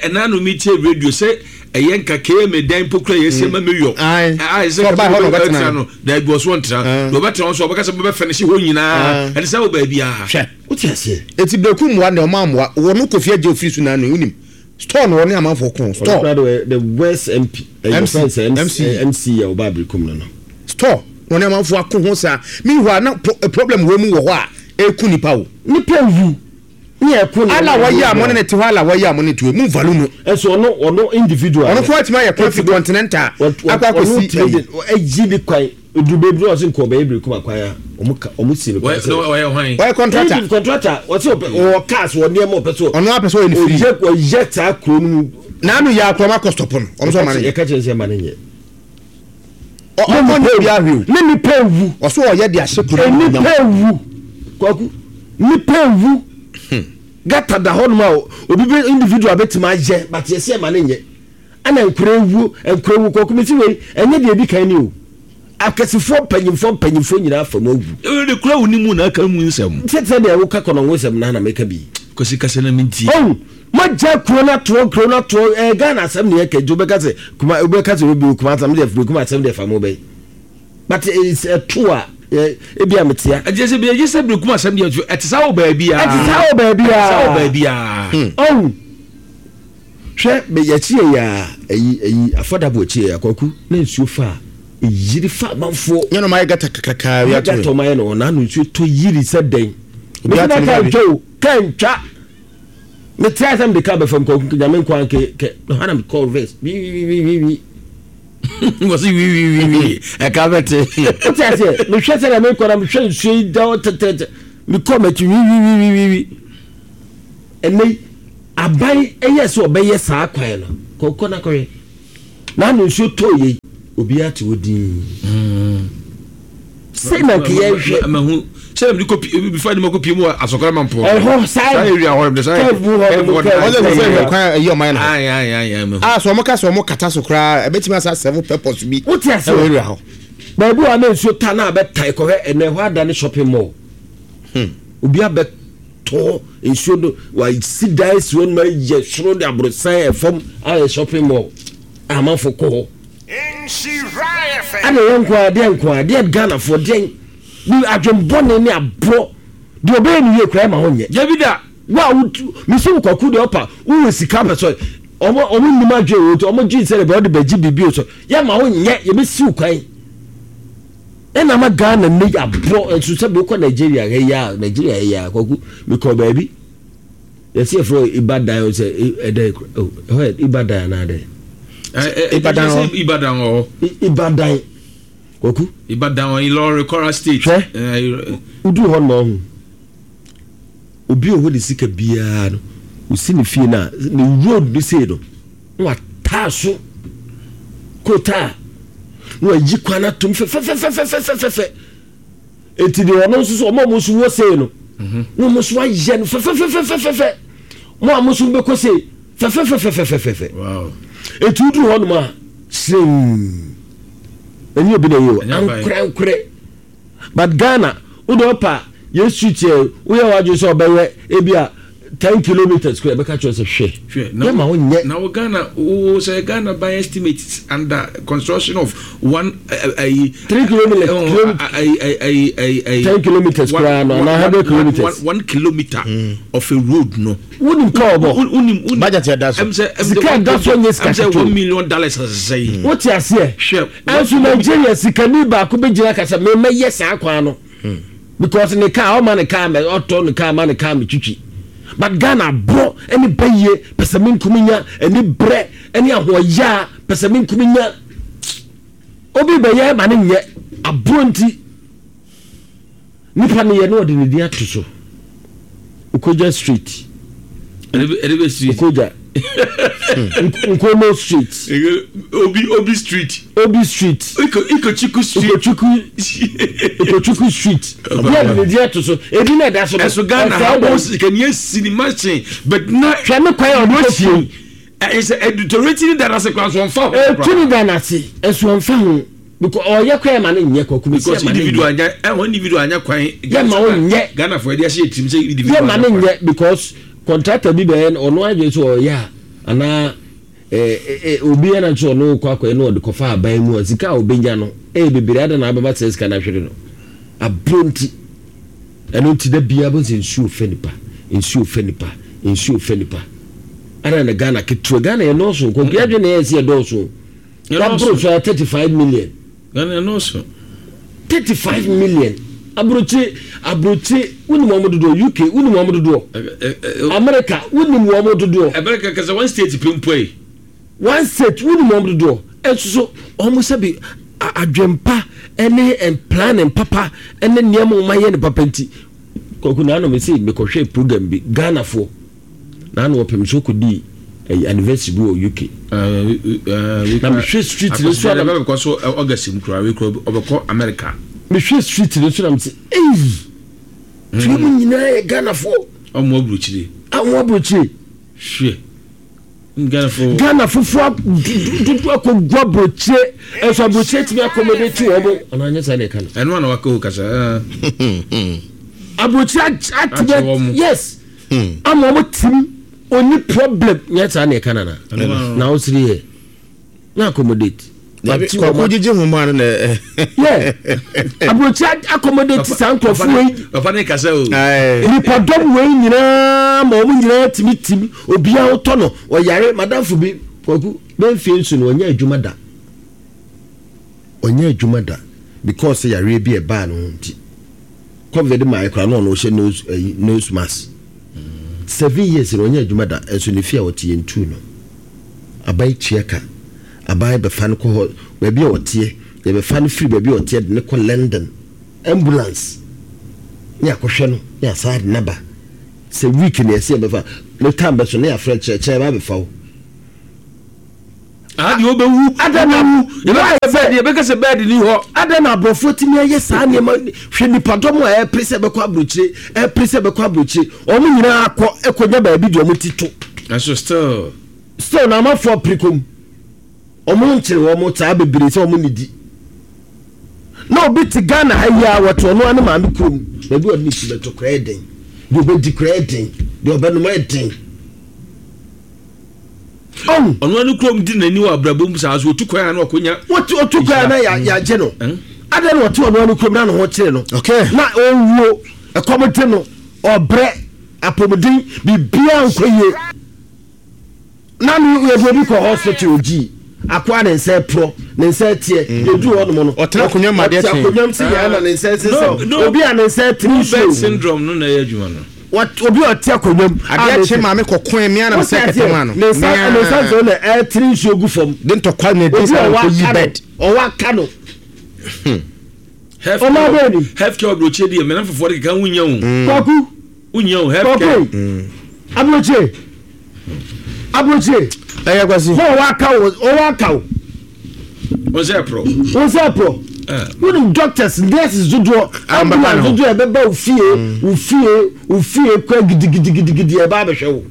[SPEAKER 3] Ɛna no mi tie radio sɛ ɛyɛ nka kma dan mpo kura yɛsi ma mi yɔ.
[SPEAKER 2] Ayi
[SPEAKER 3] sɛ ɔba hɔ na ɔbɛtena no daabi ɔso ɔntena na ɔbɛtena hɔ nso ɔbɛka sɛ bɛbɛ fɛnɛsi hɔ nyinaa ɛne sɛ wɔ baabi a.
[SPEAKER 2] Hwɛ.
[SPEAKER 4] Wote aseɛ?
[SPEAKER 2] Eti berekum mmoa deɛ ɔmo ammoa wɔ no kofi agye ofiri so naanu yi wonim store no ɔne amanfoɔ ko store.
[SPEAKER 4] Ɔno koraa de the worst MP ɛyɛ
[SPEAKER 2] MC
[SPEAKER 4] ɔfɛn sɛ
[SPEAKER 2] MC
[SPEAKER 4] MC yɛ ɔba berekum no no.
[SPEAKER 2] Store na ɔne amanfoɔ ako ho saa meanwhile na pro problem wɔ mu wɔ hɔ a ɛku nipa o.
[SPEAKER 4] Nipa wu ne ɛko ne
[SPEAKER 2] Ala wɔyɛ a mo ne ne te hɔ ala wɔyɛ a mo ne te hɔ mu value no.
[SPEAKER 4] Ɛso ɔno ɔno individual.
[SPEAKER 2] Ɔno koraa tumi ayɛ kwan fi continental akɔ akɔsi
[SPEAKER 4] ɛyi. Ɛyi ne kwan. Oduru baabi na ɔse nka ɔbɛyɛ berekum akwan a ɔmo ka ɔmo si no kwan sɛ.
[SPEAKER 3] Ɔyɛ hwan?
[SPEAKER 2] Ɔyɛ contractor.
[SPEAKER 4] Egypt contractor ɔse ɔpɛ ɔwɔ cars wɔ nneɛma ɔpɛ sɛ.
[SPEAKER 2] Ɔno ara pɛ sɛ ɔyɛ ne free.
[SPEAKER 4] Ɔyɛ ɔyɛ saa kuro no mu.
[SPEAKER 2] N'ano yɛ akora ɔmo akɔ stop no ɔmo sɛ ɔma no nyɛ.
[SPEAKER 4] Yɛka kyerɛ no sɛ ɛma no nyɛ.
[SPEAKER 2] Ɔmo nyɛ obi ahwɛ o.
[SPEAKER 4] Ne nipa ewu.
[SPEAKER 2] Ɔso ɔyɛ de ahyɛ kuro no mu.
[SPEAKER 4] Nipa ewu kwaku nipa ewu. Gata da hɔ nom a obi bɛ individual bɛtumi ayɛ but yɛsɛ ɛma no nyɛ. Ɛna nkura ewuo nkura ewuo kɔkɔ mesi wei ɛnyɛ deɛ edi kan ni o akɛsefoɔ mpanyinfoɔ mpanyinfoɔ nyinaa afa mu awu.
[SPEAKER 3] Ewe de kura wo ni mu na aka mu nsɛm.
[SPEAKER 4] Sɛ sɛ deɛ woka kɔnɔngo nsɛm na na meka bi.
[SPEAKER 3] Kwasi kasa na mentie.
[SPEAKER 4] Oh mogya kuro no atoɔ kuro no atoɔ ɛɛ Ghana asɛm na yɛka nti wobɛka sɛ kuma wobɛka sɛ obi kuma asɛm deɛ firi kuma asɛm deɛ fa mo bɛyi but it's ɛto a ebi a metea.
[SPEAKER 3] Ɛkyɛ sɛ bi ɛgye sɛ bere kuma asɛm deɛ ɛte saa wɔ baabi a.
[SPEAKER 4] Ɛte saa wɔ baabi a.
[SPEAKER 3] Ɛte saa wɔ baabi a.
[SPEAKER 4] Oh. Hwɛ me yɛkyi yɛ yaa ɛyi ɛyi afɔdabo akyi yɛ yaa kwaku na nsuo fa a ɛyiri fa amanfoɔ.
[SPEAKER 2] Nyɛ na ɔmo ayɛ gata kakrakaa wi ato.
[SPEAKER 4] Gata ɔmo ayɛ no ɔna ano nsuo tɔ yiri sɛ dɛn.
[SPEAKER 2] Obi
[SPEAKER 4] Mesi na
[SPEAKER 2] ato ne
[SPEAKER 4] kaa
[SPEAKER 2] baabi.
[SPEAKER 4] ntwa o kaa ntwa. Me try sɛ mede kaa bɛfam kwaku nyame nkoa nke kɛ na hɔ na me kɔ reverse wi wi wi wi wi.
[SPEAKER 3] Wɔsi wiwiwiwi ɛka bɛte.
[SPEAKER 4] Wote aseɛ mehwɛ sɛ na mekɔ na mehwɛ nsuo yi da hɔ tɛtɛtɛ mekɔ m'akyi wiwiwiwiwi ɛnɛ yi aban ɛyɛ sɛ ɔbɛyɛ saa kwan no kɔkɔ na kɔhwɛ na ano nsuo tɔɔ yei obiara te hɔ dinn. Sɛ na nka yɛhwɛ.
[SPEAKER 3] Mahu sɛ na mede kɔ pie bifa de ma kɔ pie mu wɔ asɔkɔrɔ ma mpɔ.
[SPEAKER 4] Ɛhɔ saa
[SPEAKER 3] area hɔ de saa
[SPEAKER 4] curve mu hɔ no curve.
[SPEAKER 2] Ɔsɛ sɛ hwɛ kwan ɛyi ɔman no.
[SPEAKER 3] Ayi ayi ayi ayi.
[SPEAKER 2] Ah so ɔmo ka sɛ ɔmo kata so koraa ɛbɛtumi asa serve purpose bi.
[SPEAKER 4] Wote ase
[SPEAKER 2] ɛwɔ area hɔ.
[SPEAKER 4] Baabi wɔ na nsuo ta na abɛtae kɔhwɛ ɛnɛ ɛhɔ ada ne shopping mall. Hmm. Obi abɛtɔ nsuo no wasi dan si hɔ no ma yɛ soro de aborosan ɛfam ayɛ shopping mall. Amanfo kɔ hɔ. Ɛna yɛn nko ara deɛ nko ara deɛ Ghanafoɔ deɛ bi adwen bɔne ne aborɔ deɛ ɔbɛyɛ ne yie koraa ɛma ho nyɛ.
[SPEAKER 3] Dabi da.
[SPEAKER 4] Wo a wo mesi wo kwaku deɛ ɔpa wowɔ sika pɛ sɛ ɔmo ɔmo nim adwen wɔ nti ɔmo gye sɛ ɛbɛ ɔde bɛgye biribi o sɛ yɛ ma ho nyɛ yɛbɛsi wo kwan ɛna ama Ghana ne aborɔ nso sɛ bi wokɔ Nigeria ha yi a Nigeria ha yi a kwaku mekɔ baabi. Yɛsi yɛfrɛ hɔ Ibadan o sɛ ɛdɛ o ɛhɔ yɛ Ibadan anaa dɛ.
[SPEAKER 2] Ibadan hɔ.
[SPEAKER 3] Ibadan wɔ hɔ.
[SPEAKER 4] Ibadan kwaku.
[SPEAKER 3] Ibadan wɔ Ilorin Kwara State.
[SPEAKER 4] Hwɛ wodu hɔ nom ɔho obi wɔ hɔ de sika biara no osi ne fie no a ne road no sei no na wataa so kotaa na wayi kwan atom fɛfɛfɛfɛfɛfɛ. Eti deɛ ɔno nso so ɔmo a ɔmo nso wɔ sei no mhm. na ɔmo nso ayɛ no fɛfɛfɛfɛfɛfɛ mo a mo nso bɛkɔ sei fɛfɛfɛfɛfɛfɛ eti woduru hɔ nom a hyerɛn ɛnyɛ obi na ɛyɛ o ankorɛnkorɛ but Ghana wode ɔpa yɛ street yɛ woyɛ wadwene sɛ ɔbɛyɛ ebi a 10 kilometers kura ɛbɛka kyerɛ sɛ hwɛ yɛ ma wonyɛ.
[SPEAKER 3] Na wo Ghana wo sɛ Ghana ban estimate under construction of one ayi.
[SPEAKER 4] 3 kilometers ayi ayi ayi 10 kilometers kura no ana 100 kilometers.
[SPEAKER 3] 1 kilometer of a road no.
[SPEAKER 4] Wonim ka ɔbɔ.
[SPEAKER 3] Wonim wonim.
[SPEAKER 2] Budget yɛ da so.
[SPEAKER 4] Sika ɛda so nyɛ sika ketewa.
[SPEAKER 3] Ɛm sɛ 1 million dollars asesɛ yi.
[SPEAKER 4] Wote aseɛ.
[SPEAKER 3] Hwɛ.
[SPEAKER 4] Ɛnso Nigeria sikani baako bɛgyina kasa mɛmɛyɛ saa kwan no. Because ne car ɔma ne car mɛ ɔtɔ ne car ma ne car mɛ twitwi but Ghana aborɔ ɛne bɛyie pɛsɛmenkominya ɛne brɛ ɛne ahoɔyaa pɛsɛmenkominya obi bɛyɛ ma ne nyɛ aborɔ nti nipa ne yɛ na ɔde ne din ato so Okoja street Okoja Nkomo street
[SPEAKER 3] Obi Obi street
[SPEAKER 4] Obi street
[SPEAKER 3] Ikochukwu street
[SPEAKER 4] Ikochukwu Ikochukwu street Obi a de di ato so ebi na ɛda so no
[SPEAKER 3] ɛso Ghana ha wɔn sika ni esi ni machine but na
[SPEAKER 4] hwɛ ne kwan a ɔde kɔ fie
[SPEAKER 3] ɛyɛ sɛ ɛdutoreti ni da n'ase kwan so ɔnfa ho
[SPEAKER 4] etu ni da n'ase ɛso ɔnfa ho because ɔyɛ kwan ma ne nyɛ kɔkɔ
[SPEAKER 3] because individual anya ɛhɔ individual anya kwan
[SPEAKER 4] yɛ ma ɔnyɛ
[SPEAKER 3] Ghana fo ɛde ahyɛ tirim sɛ individual
[SPEAKER 4] yɛ ma ne nyɛ because contractor bi bɛyɛ ɔno adwene sɛ ɔyɛ a anaa obi yɛ na nso ɔno kɔ akɔyɛ na ɔde kɔfa aban mu a sika a ɔbɛnya no ɛyɛ bebree ada na abɛba sɛ sika no ahwere no aburo nti ɛno nti da biara bɛ sɛ nsuo fɛ nipa nsuo fɛ nipa nsuo fɛ nipa ana na Ghana ketewa Ghana yɛ nɔɔso nkɔnkɔ yɛ adwene na yɛ sɛ yɛ dɔɔso Waboro so ayɛ 35 million.
[SPEAKER 3] Ghana ɛnɔɔso.
[SPEAKER 4] 35 million. Aburokyire aburokyire wonim wɔn dodoɔ UK wonim wɔn dodoɔ America wonim wɔn dodoɔ.
[SPEAKER 3] America kasa one state pɛ mpo yi.
[SPEAKER 4] One state wonim wɔn dodoɔ ɛnso so wɔn sɛbi adwempa ɛne planning papa ɛne nneɛma wɔn ayɛ no papa nti kɔkɔ na anam esi mekɔhwɛ program bi Ghanafoɔ. Na na ɔpem so kɔdii ɛyi anniversary bi wɔ UK. Na mehwɛ street no so a na.
[SPEAKER 3] Bɛkɔ so August mu koraa wei koraa ɔbɛkɔ America.
[SPEAKER 4] Mehwɛ street no so na mese eyi. Fie mu nyinaa yɛ Ghanafoɔ.
[SPEAKER 3] Ɔmo aburokyire.
[SPEAKER 4] Ɔmo aburokyire.
[SPEAKER 3] Hwɛ. Ghanafoɔ.
[SPEAKER 4] Ghana fofoɔ dodo akɔgu aburokyire ɛnso aburokyire tumi accommodate wɔn. Anaa nyɛ saa na ɛka no.
[SPEAKER 3] Ɛno ana waka o kasa.
[SPEAKER 4] Aburokyire atumi yes. Ama ɔmo tim ɔni problem nyɛ saa na ɛka nana na ɔsiri yɛ na accommodate.
[SPEAKER 2] Kɔkɔ gyegye ho maa no na.
[SPEAKER 4] Yɛ aburokyi accommodate saa nkurɔfo wei.
[SPEAKER 3] Papa ne kasa o.
[SPEAKER 4] Nipadɔm wei nyinaa ma ɔmo nyinaa tumi tim obiara wotɔ no ɔyare madamfo bi kwaku bɛnfie nso no ɔnyɛ adwuma da ɔnyɛ adwuma da because yareɛ bi ɛbaa no ho nti. Covid mae koraa na ɔno ɔhyɛ nose ayi nose mask. 7 years na ɔnyɛ adwuma da nso ne fie a ɔte yɛntuu no. Aban tua ka. Aban bɛfa no kɔ hɔ baabi a ɔteɛ, yɛbɛfa no firi baabi a ɔteɛ de no kɔ London, ambulance ne akɔhwɛ no ne asan de no aba. Sɛ week na yɛsɛ yɛbɛfa no time bɛso ne yɛafrɛ no kyerɛkyerɛ yɛba abɛfa wo.
[SPEAKER 3] Aha deɛ wobɛwu, wobɛwu, yɛbɛka sɛ bɛɛdi, yɛbɛka sɛ bɛɛdi ni hɔ.
[SPEAKER 4] Adɛn na aborɔfoɔ tumi ayɛ saa nneɛma hwɛ nipadɔm a ɛpere sɛ ɛbɛkɔ aburokyire ɛpere sɛ ɛbɛkɔ aburokyire wɔn nyinaa akɔ ɛkɔnya baabi deɛ wɔn ti to.
[SPEAKER 3] Nanso still.
[SPEAKER 4] Still na amafoɔ pere kɔm. Wɔn nkyere wɔn saa bebree sɛ wɔn nnidi. Na obi te Ghana ha yi a wɔte ɔno ara ne maame kurom baabi a ɔde ne ti bɛto koraa yɛ den. Deɛ ɔbɛdi koraa yɛ den. Deɛ ɔbɛnom yɛ den.
[SPEAKER 3] Ɔn. Ɔno ara ne kurom di n'ani wɔ abrabɔ mu saa so otu kwan a na ɔkonya.
[SPEAKER 4] Wɔte otu kwan a na yɛagye no. Adɛn na ɔte ɔno ara ne kurom na ne ho kyere no.
[SPEAKER 2] Okay.
[SPEAKER 4] Na ɔwuo ɛkɔm de no ɔbrɛ apɔmuden biribiara nkɔ yie. Na me yɛde obi kɔ hospital ogyi akoa ne nsa ɛporɔ ne nsa ɛteɛ mm. yɛduru hɔ nom no
[SPEAKER 2] ɔtena akonnwa mu adeɛ
[SPEAKER 4] kye akonnwa mu sɛ yɛn na ne nsa ɛsesɛm obi a ne nsa ɛtene nsuo
[SPEAKER 3] syndrome no na ɛyɛ adwuma no
[SPEAKER 4] obi a ɔte akonnwa mu
[SPEAKER 2] adeɛ kye maame kɔkɔɛ mmea na mesɛ kɛtɛ mu ano
[SPEAKER 4] ne nsa ne nsa nso na ɛtene nsuo gu fam
[SPEAKER 2] de ntɔkwa na ɛdi sa nkɔ yi bed
[SPEAKER 4] ɔwɔ aka no
[SPEAKER 2] hmm.
[SPEAKER 4] ɔma bɛɛ ni
[SPEAKER 3] healthcare ɔbrɔkyɛ deɛ mɛnam fofoɔ de keka ho nya o
[SPEAKER 4] kwaku
[SPEAKER 3] Wonya o health care.
[SPEAKER 4] Kɔkɔe. Aburokyire. Aburokyire.
[SPEAKER 2] Ɛyɛ kwasi.
[SPEAKER 4] Hɔ ɔwɔ aka wo ɔwɔ aka wo.
[SPEAKER 3] Wɔn sɛ ɛporɔ.
[SPEAKER 4] Wɔn sɛ ɛporɔ. Wonim doctors nurses dodoɔ ambulance dodoɔ ɛbɛba wo fie wo fie wo fie kɔ gidigidigidigidi ɛba abɛhwɛ wo.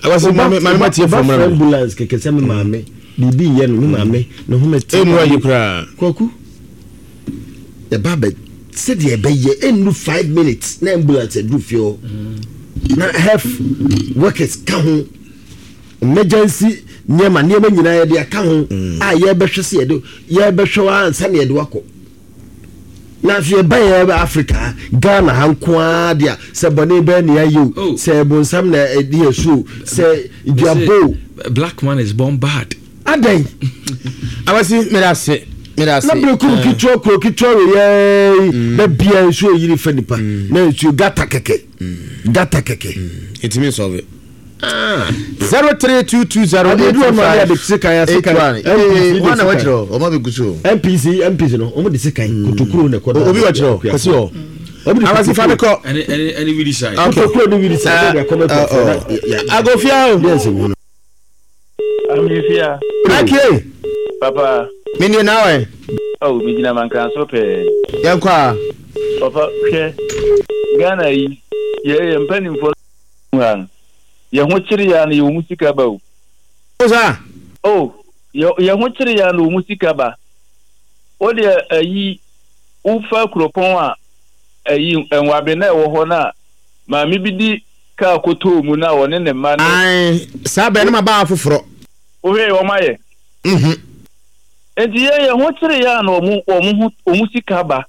[SPEAKER 2] Akwasi maame maame ma tie fam
[SPEAKER 4] na. Ambulance kɛkɛ sɛ me maame biribi yɛ no me maame ne ho mɛ
[SPEAKER 2] tie. Emu ayi koraa.
[SPEAKER 4] Kwaku. Ɛba bɛ sɛdeɛ ɛbɛyɛ ɛnnu 5 minutes na ambulance aduru fie hɔ na health workers ka ho emergency nneɛma nneɛma nyinaa yɛde aka ho a yɛbɛhwɛ sɛ yɛde yɛbɛhwɛ wa ansa na yɛde wakɔ na afei ɛba yɛ Africa ha Ghana ha nko ara deɛ sɛ bɔne bɛɛ ne ayɛ o oh. sɛ bonsam na ɛde yɛ so o sɛ duabo
[SPEAKER 3] black man is born bad
[SPEAKER 4] Adɛn?
[SPEAKER 2] Abasi, meda ase. Meda ase.
[SPEAKER 4] Na bere koro eh. ketewa kuro ketewa wɔ yɛɛ yi mm. na bia nsuo yiri fa nipa mm. na nsuo gata kɛkɛ mm. gata kɛkɛ.
[SPEAKER 2] Etimi nsɔve. 03220 85 81. Wọn na wɔkyerɛ ɔmo bɛ gusu.
[SPEAKER 4] NPC NPC no ɔmo de sekan kotokuro na ɛkɔ da.
[SPEAKER 2] Obi wɔkyerɛ kɔsi hɔ. Abasi fa mi kɔ.
[SPEAKER 3] Ɛni ɛni ɛni wili sa.
[SPEAKER 4] Kotokuro ni wili sa.
[SPEAKER 2] Agofia o.
[SPEAKER 5] Amifia.
[SPEAKER 2] Ake.
[SPEAKER 5] Papa.
[SPEAKER 2] Me nie na wɛ.
[SPEAKER 5] Oh, me gyina mankran so pɛɛ.
[SPEAKER 2] Yɛn kɔ a.
[SPEAKER 5] Papa, hwɛ. Ghana yi, yɛ yɛ mpanimfoɔ mu ha no. Yɛ ho kyere ya no yɛ wɔn sika ba o.
[SPEAKER 2] O saa.
[SPEAKER 5] Oh, yɛ yɛ ho kyere ya no wɔn sika ba. O deɛ ayi, wofa kuropɔn a ayi nwabe na ɛwɔ hɔ na maame bi di kaa kɔtɔɔ mu na ɔne ne mma ne.
[SPEAKER 2] Ae, saa bɛn no ma baa foforɔ.
[SPEAKER 5] Wohwɛ wɔn ayɛ.
[SPEAKER 2] Mhm.
[SPEAKER 5] Nti yɛn yɛn ho kyere yɛn a na wɔn wɔn ho wɔn sika ba.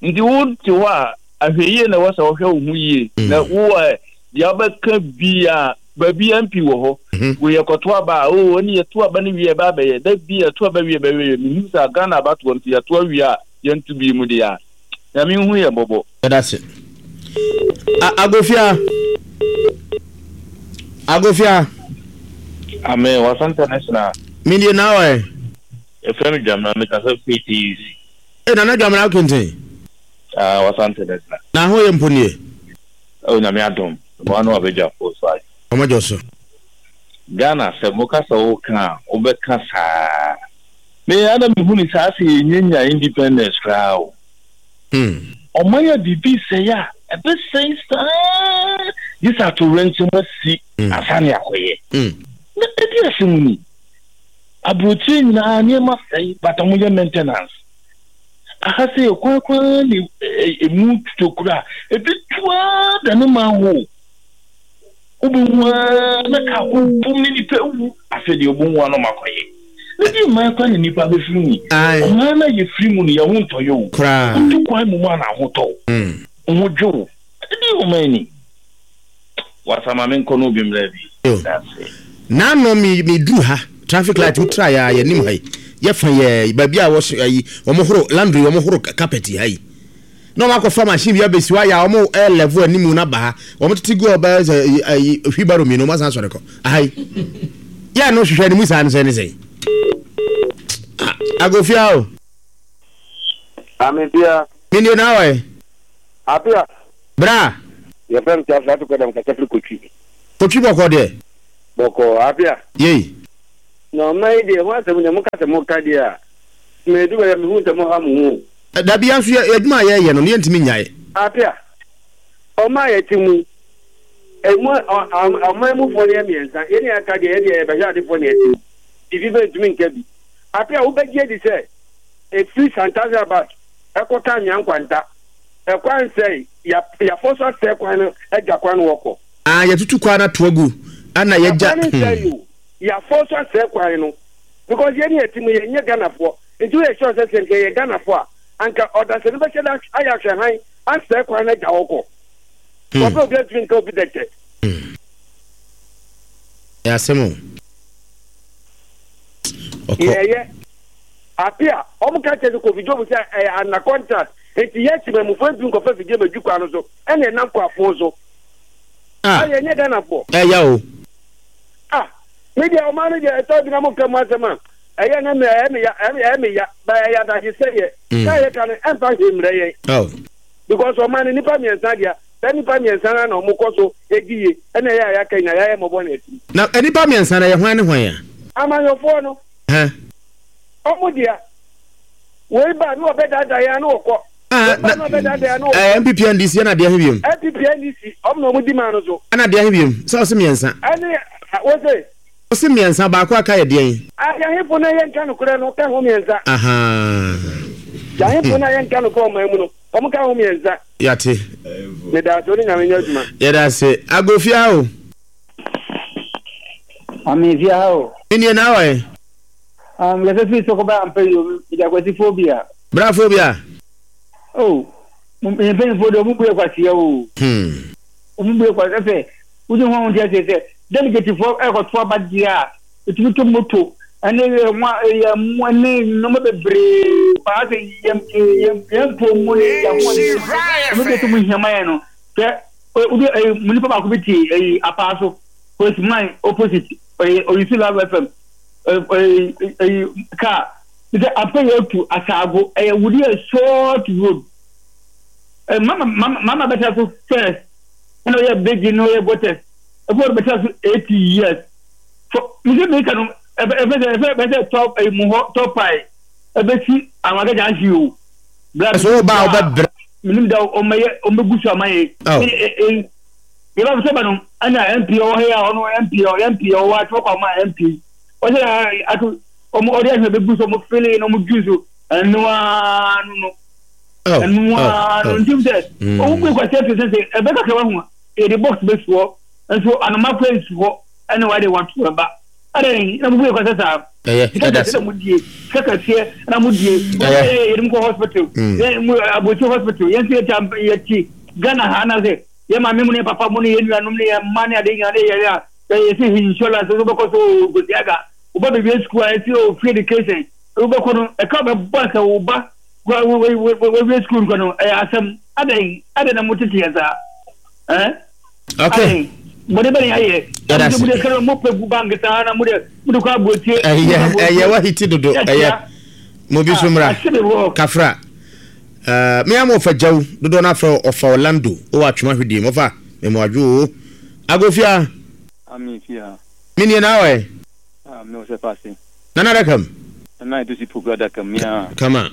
[SPEAKER 5] Nti wo te hɔ a ahwɛyie na ɛwɔ sɛ wohwɛ wo ho yie. Mm. Na wo ɛ deɛ wobɛka bi a baabi MP wɔ hɔ. Mm-hmm. Wo yɛ kɔto aba a oo ɛne yɛto aba no wie ɛbɛ abɛyɛ da bi yɛto aba wie bɛyɛ menim sɛ Ghana abatoɔ nti yɛto awie a yɛnto bi mu deɛ a Nyame nhu yɛn mmɔbɔ.
[SPEAKER 2] Yɛda se. Agofia. Agofia.
[SPEAKER 6] Amen. Wasa International.
[SPEAKER 2] Me die na ɔɛ.
[SPEAKER 6] Yɛfrɛ me Dwamena, me kasa firi TUC.
[SPEAKER 2] E Nana Dwamena Kenten.
[SPEAKER 6] Ah, Wasa International.
[SPEAKER 2] Na ho yɛ mpo nie.
[SPEAKER 6] Oh, Nyame adom. Mo ano abadwafoɔ so ayɛ.
[SPEAKER 2] Ɔmo adwo so.
[SPEAKER 6] Ghana sɛ mo ka sɛ wo ka a, wo bɛ ka saa. Me ara me hu ne saa sɛ yɛ nya nya independence koraa o. Ɔman a biribi sɛe a, ɛbɛsɛe saa gye sɛ atowerɛnkyɛm asi ansa na yɛakɔyɛ. Na ɛde asɛm ni. Aburokyire nyinaa nneɛma sɛe but wɔyɛ maintenance. Aha sɛ yɛ kwan koraa na emu totokuro a, ɛbɛtu ara dane manhole. Wobɛhu ara na kaa kɔ bum ne nipa awu. Afei deɛ wobɛhu ara na wɔakɔyɛ. Na deɛ mman koraa na nipa bɛfiri mu yi. Ɔman no a yɛfiri mu no, yɛn ho ntɔ yɛ o. Wotu kwan mmom a na ahotɔ wo. Wo ho dwo wo. Ɛdeɛn ɔman ni? Wasa ma menkɔ na obi mmra bi. Dase.
[SPEAKER 2] N'ano me me duru ha traffic light wo tra ya yɛ nim ha yi yɛ fa yɛ baabi a wɔ ayi wɔn horo laundry wɔn horo carpet ha yi. Na wɔn akɔfa machine bi abɛsi hɔ ayɛ a wɔn ɛyɛ level anim na ba ha wɔn tete gu ɔbɛyɛ sɛ ayi wheelbarrow mmienu wɔn asan asɔre kɔ aha yi. Yɛ no hwehwɛ ne mu saa no sɛ ne sɛn. Ah, Agofia o.
[SPEAKER 7] Ame bia.
[SPEAKER 2] Menie na awɔ ɛ.
[SPEAKER 7] Apia.
[SPEAKER 2] Bra.
[SPEAKER 7] Yɛfrɛ me Teofilo Ato Kɔdam kasa firi Kotwi.
[SPEAKER 2] Kotwi bɔkɔɔ deɛ.
[SPEAKER 7] Bɔkɔɔ, Apia.
[SPEAKER 2] Yei.
[SPEAKER 7] Na ɔman yi deɛ, ho asɛm deɛ moka sɛ moka deɛ a, medu baabi a mehu sɛ moha mo ho o.
[SPEAKER 2] Dabi, yɛn nso yɛ adwuma a yɛyɛ no, no yɛntumi nnyae.
[SPEAKER 7] Apia, ɔman a yɛte mu, emu ɔman mufoɔ no yɛ mmiɛnsa, yɛn a yɛaka deɛ, yɛn deɛ yɛbɛhwɛ adefoɔ na yɛte mu, biribi bɛntumi nka bi. Apia, wobɛgye adi sɛ ɛfiri Santase Abas ɛkɔka Anwea Nkwanta, ɛkwan sɛe, yɛafɔ so asɛe kwan no agya kwan no wɔkɔ.
[SPEAKER 2] Ah, yɛtutu kwan no ato agu, ɛna yɛgya.
[SPEAKER 7] Ɛkwan no nsɛe o, yɛafɔ so asɛe kwan no because yɛn ne yɛte mu yɛnyɛ Ghanafoɔ nti woyɛ sure sɛ sɛ nka yɛyɛ Ghanafoɔ a anka ɔdasani bɛhyɛ da ayɛ ahwɛhan asɛe kwan no agya hɔ kɔ. Wɔpɛ obi antumi nka obi dɛkyɛ.
[SPEAKER 2] Ɛyɛ asɛm o. Ɔkɔ.
[SPEAKER 7] Yɛyɛ. Ape a, wɔn ka kyerɛ sɛ Kofi Job sɛ ɛyɛ under contract nti yɛ temamufoɔ ntumi nkɔfa fidie mɛdwi kwan no so ɛna ɛnam kɔ afon so.
[SPEAKER 2] Ah.
[SPEAKER 7] Ah, yɛnyɛ Ghanafoɔ.
[SPEAKER 2] Ɛya o.
[SPEAKER 7] Ah, me deɛ ɔman no deɛ ɛtɔ bi na mo nka mu asɛm a, ɛyɛ na me ɛyɛ me ya ɛyɛ me ya ba ɛyɛ adagye sɛ yɛ. Kaa yɛ ka no ɛmfa hwee mmerɛ yɛn.
[SPEAKER 2] Oh.
[SPEAKER 7] Because ɔman no nipa mmiɛnsa deɛ saa nipa mmiɛnsa no na wɔn kɔ so edi yie ɛna ɛyɛ a yɛaka nyinaa yɛayɛ mmɔbɔ na ɛtim.
[SPEAKER 2] Na nipa mmiɛnsa no ɛyɛ hwan ne hwan a?
[SPEAKER 7] Amanyɔfoɔ no.
[SPEAKER 2] Hɛn.
[SPEAKER 7] Ɔmo dea. Wei ba ne ɔbɛdaadaa yɛn a ne ɔkɔ.
[SPEAKER 2] Ah,
[SPEAKER 7] Wei ba ne ɔbɛdaadaa yɛn a ne ɔkɔ.
[SPEAKER 2] Eh, NPP NDC ɛna deɛ he biom?
[SPEAKER 7] NPP NDC, ɔmo na ɔmo di maa no so.
[SPEAKER 2] Ɛna deɛ he biom? Sɛ ɔse mmiɛnsa.
[SPEAKER 7] Ɛne, wose?
[SPEAKER 2] Ɔse mmiɛnsa, baako aka yɛ deɛn?
[SPEAKER 7] Ah, yɛhefo no a yɛnka nokorɛ no ka ho mmiɛnsa.
[SPEAKER 2] Ahaa.
[SPEAKER 7] Yɛhefo no a yɛnka nokorɛ ɔman mu no, ɔmo ka ho mmiɛnsa.
[SPEAKER 2] Yɛate.
[SPEAKER 7] Medaase, wo ne Nyame nyɛ adwuma.
[SPEAKER 2] Yɛda ase. Agofia o.
[SPEAKER 8] Ame fia ha o.
[SPEAKER 2] Nnie na awɔ ɛ.
[SPEAKER 8] Ah, mekasa firi sɛ kɔba ampa yi o, mede akwasi phobia.
[SPEAKER 2] Bra phobia.
[SPEAKER 8] Oh, mo mpanyinfoɔ deɛ ɔmo bu yɛ kwasia o.
[SPEAKER 2] Hmm.
[SPEAKER 8] Ɔmo bu yɛ kwasia sɛ, wogye ho a wonte aseɛ sɛ, delegatefoɔ ɛkɔto aba deɛ a, ɛtumi to moto, ɛne ɛmo ɛyɛ mo ɛne nneɛma bebree paa sɛ yɛn yɛn yɛn mpo mu ne yɛn ahoɔden mu ne ɔmo deɛ sɛ mo hia ma yɛn no, hwɛ, wode ɛyi mo nipa baako bi te ɛyi apaa so, policeman opposite, ɛyi oyisi love fm. ɛyi kaa sɛ afei yɛ tu asaago ɛyɛ wudi yɛ short road ɛ mama mama mama bɛtɛ so first ɛna ɔyɛ bridge na ɔyɛ gutters ɛfɛ ɔde bɛtɛ so 80 years fɔ mese meka no ɛfɛ ɛfɛ sɛ ɛfɛ bɛsɛ tɔ ɛyi mu hɔ tɔ pae ɛbɛsi awagagya ahye o bla
[SPEAKER 2] so wo ba wobɛbrɛ
[SPEAKER 8] menim da ɔmɛyɛ ɔmɛgu so ama yɛ
[SPEAKER 2] oh.
[SPEAKER 8] Yɛba sɛ ba no ɛna MP ɔwɔ ha yi a ɔno MP MP ɔwɔ ato kɔ ama MP ɔsɛ ato ɔmo ɔde ahwɛ bɛgu so ɔmo fele na ɔmo dwi so ɛnoa no no ɛnoa no nti sɛ ɔmo bu ekwa sɛ sɛ sɛ ɛbɛ kakra wa ho yɛde box bɛ soɔ nso anoma kɔ nsi hɔ ɛna wɔde wɔn to ɛba ɛdɛ na mo bu ekwa sɛ saa
[SPEAKER 2] ɛyɛ ɛda
[SPEAKER 8] sɛ mo die sɛ kɛseɛ na mo die yɛ yɛde mo kɔ hospital yɛ mo abɔkyi hospital yɛn nso yɛ ti yɛ ti Ghana ha na sɛ Yɛn maame mu ne yɛn papa mu ne yɛn nuanom ne yɛn mma ne ade nyinaa ne yɛn a yɛsi insurance so wobɛkɔ so o gosi aga woba baabi sukuu a yɛsi o free education wobɛkɔ no ɛka wobɛbɔ sɛ wo ba wawie sukuu nkɔ no ɛyɛ asɛm adɛn adɛn na motete yɛn saa ɛn
[SPEAKER 2] okay
[SPEAKER 8] bɔde bɛne ayɛ
[SPEAKER 2] yɛda
[SPEAKER 8] mode kɛrɛ mo pɛ gu bank saa na mode mode kɔ aburotie
[SPEAKER 2] ɛyɛ ɛyɛ wahiti dodo ɛyɛ mo bi so mmra kafra Eh, me ama ɔfa gyaw dodoɔ no afrɛ ɔfa Orlando wɔ atwema hwedie mu ɔfa mmoadwo o agofia.
[SPEAKER 9] Ami fia.
[SPEAKER 2] Me nie na awɔ ɛ.
[SPEAKER 9] Ah, me wɔ sɛ paase.
[SPEAKER 2] Nana adaka mu.
[SPEAKER 9] Nana edu si poku adaka mu ya.
[SPEAKER 2] Kama.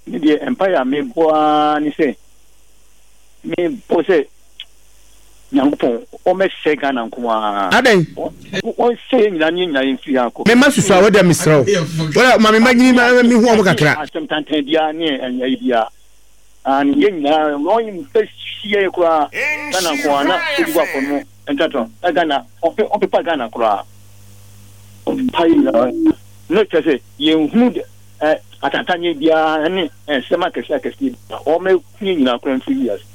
[SPEAKER 9] Me deɛ mpaeɛ a mebɔ ara ne sɛ mebɔ sɛ Nyankopɔn ɔmmɛsɛe Ghana nko ara.
[SPEAKER 2] Adɛn?
[SPEAKER 9] Ɔnsɛe yɛn nyinaa ne yɛn nyinaa yɛmfiri ha nkɔ.
[SPEAKER 2] Me mma susu a, wo deɛ mesrɛ wo. Wo deɛ ma me mma nyini ma mehu wɔn kakra.
[SPEAKER 9] Asɛm tantan biara ne ayi biara. Aane, yɛn nyinaa ɔmmɛsi yɛn koraa Ghana nko ara na ɔdi hɔ akɔ no ntratra na Ghana ɔmpepa Ghana koraa. Ɔmpepa yɛn nyinaa na kyerɛ sɛ yɛnhunu atantanneɛ biara ne nsɛm akɛseɛ akɛseɛ biara. Ɔmmɛku yɛn nyinaa koraa mfiri wiase.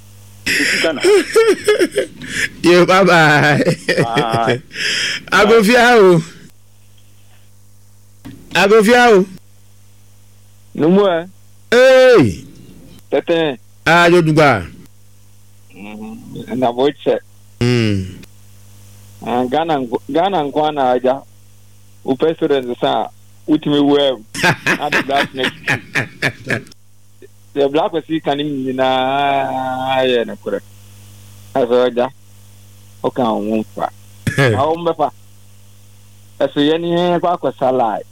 [SPEAKER 2] Yo, bye bye.
[SPEAKER 9] Bye.
[SPEAKER 2] Agofia o. Agofia o.
[SPEAKER 10] Numu ɛ.
[SPEAKER 2] Hey.
[SPEAKER 10] Tɛtɛn.
[SPEAKER 2] Ah, yo dugba.
[SPEAKER 10] Mm, na bo kyɛ.
[SPEAKER 2] Mm.
[SPEAKER 10] Ah, Ghana nko Ghana nko ara na agya wo president sa a wotumi wura mu na de black na twitwi. Deɛ Black Kwasi ka no nyinaa yɛ nokorɛ. Na sɛ ɔgya woka wo ho mfa. Na wɔn bɛfa. Ɛso yɛne yɛn kɔ akɔsa lie.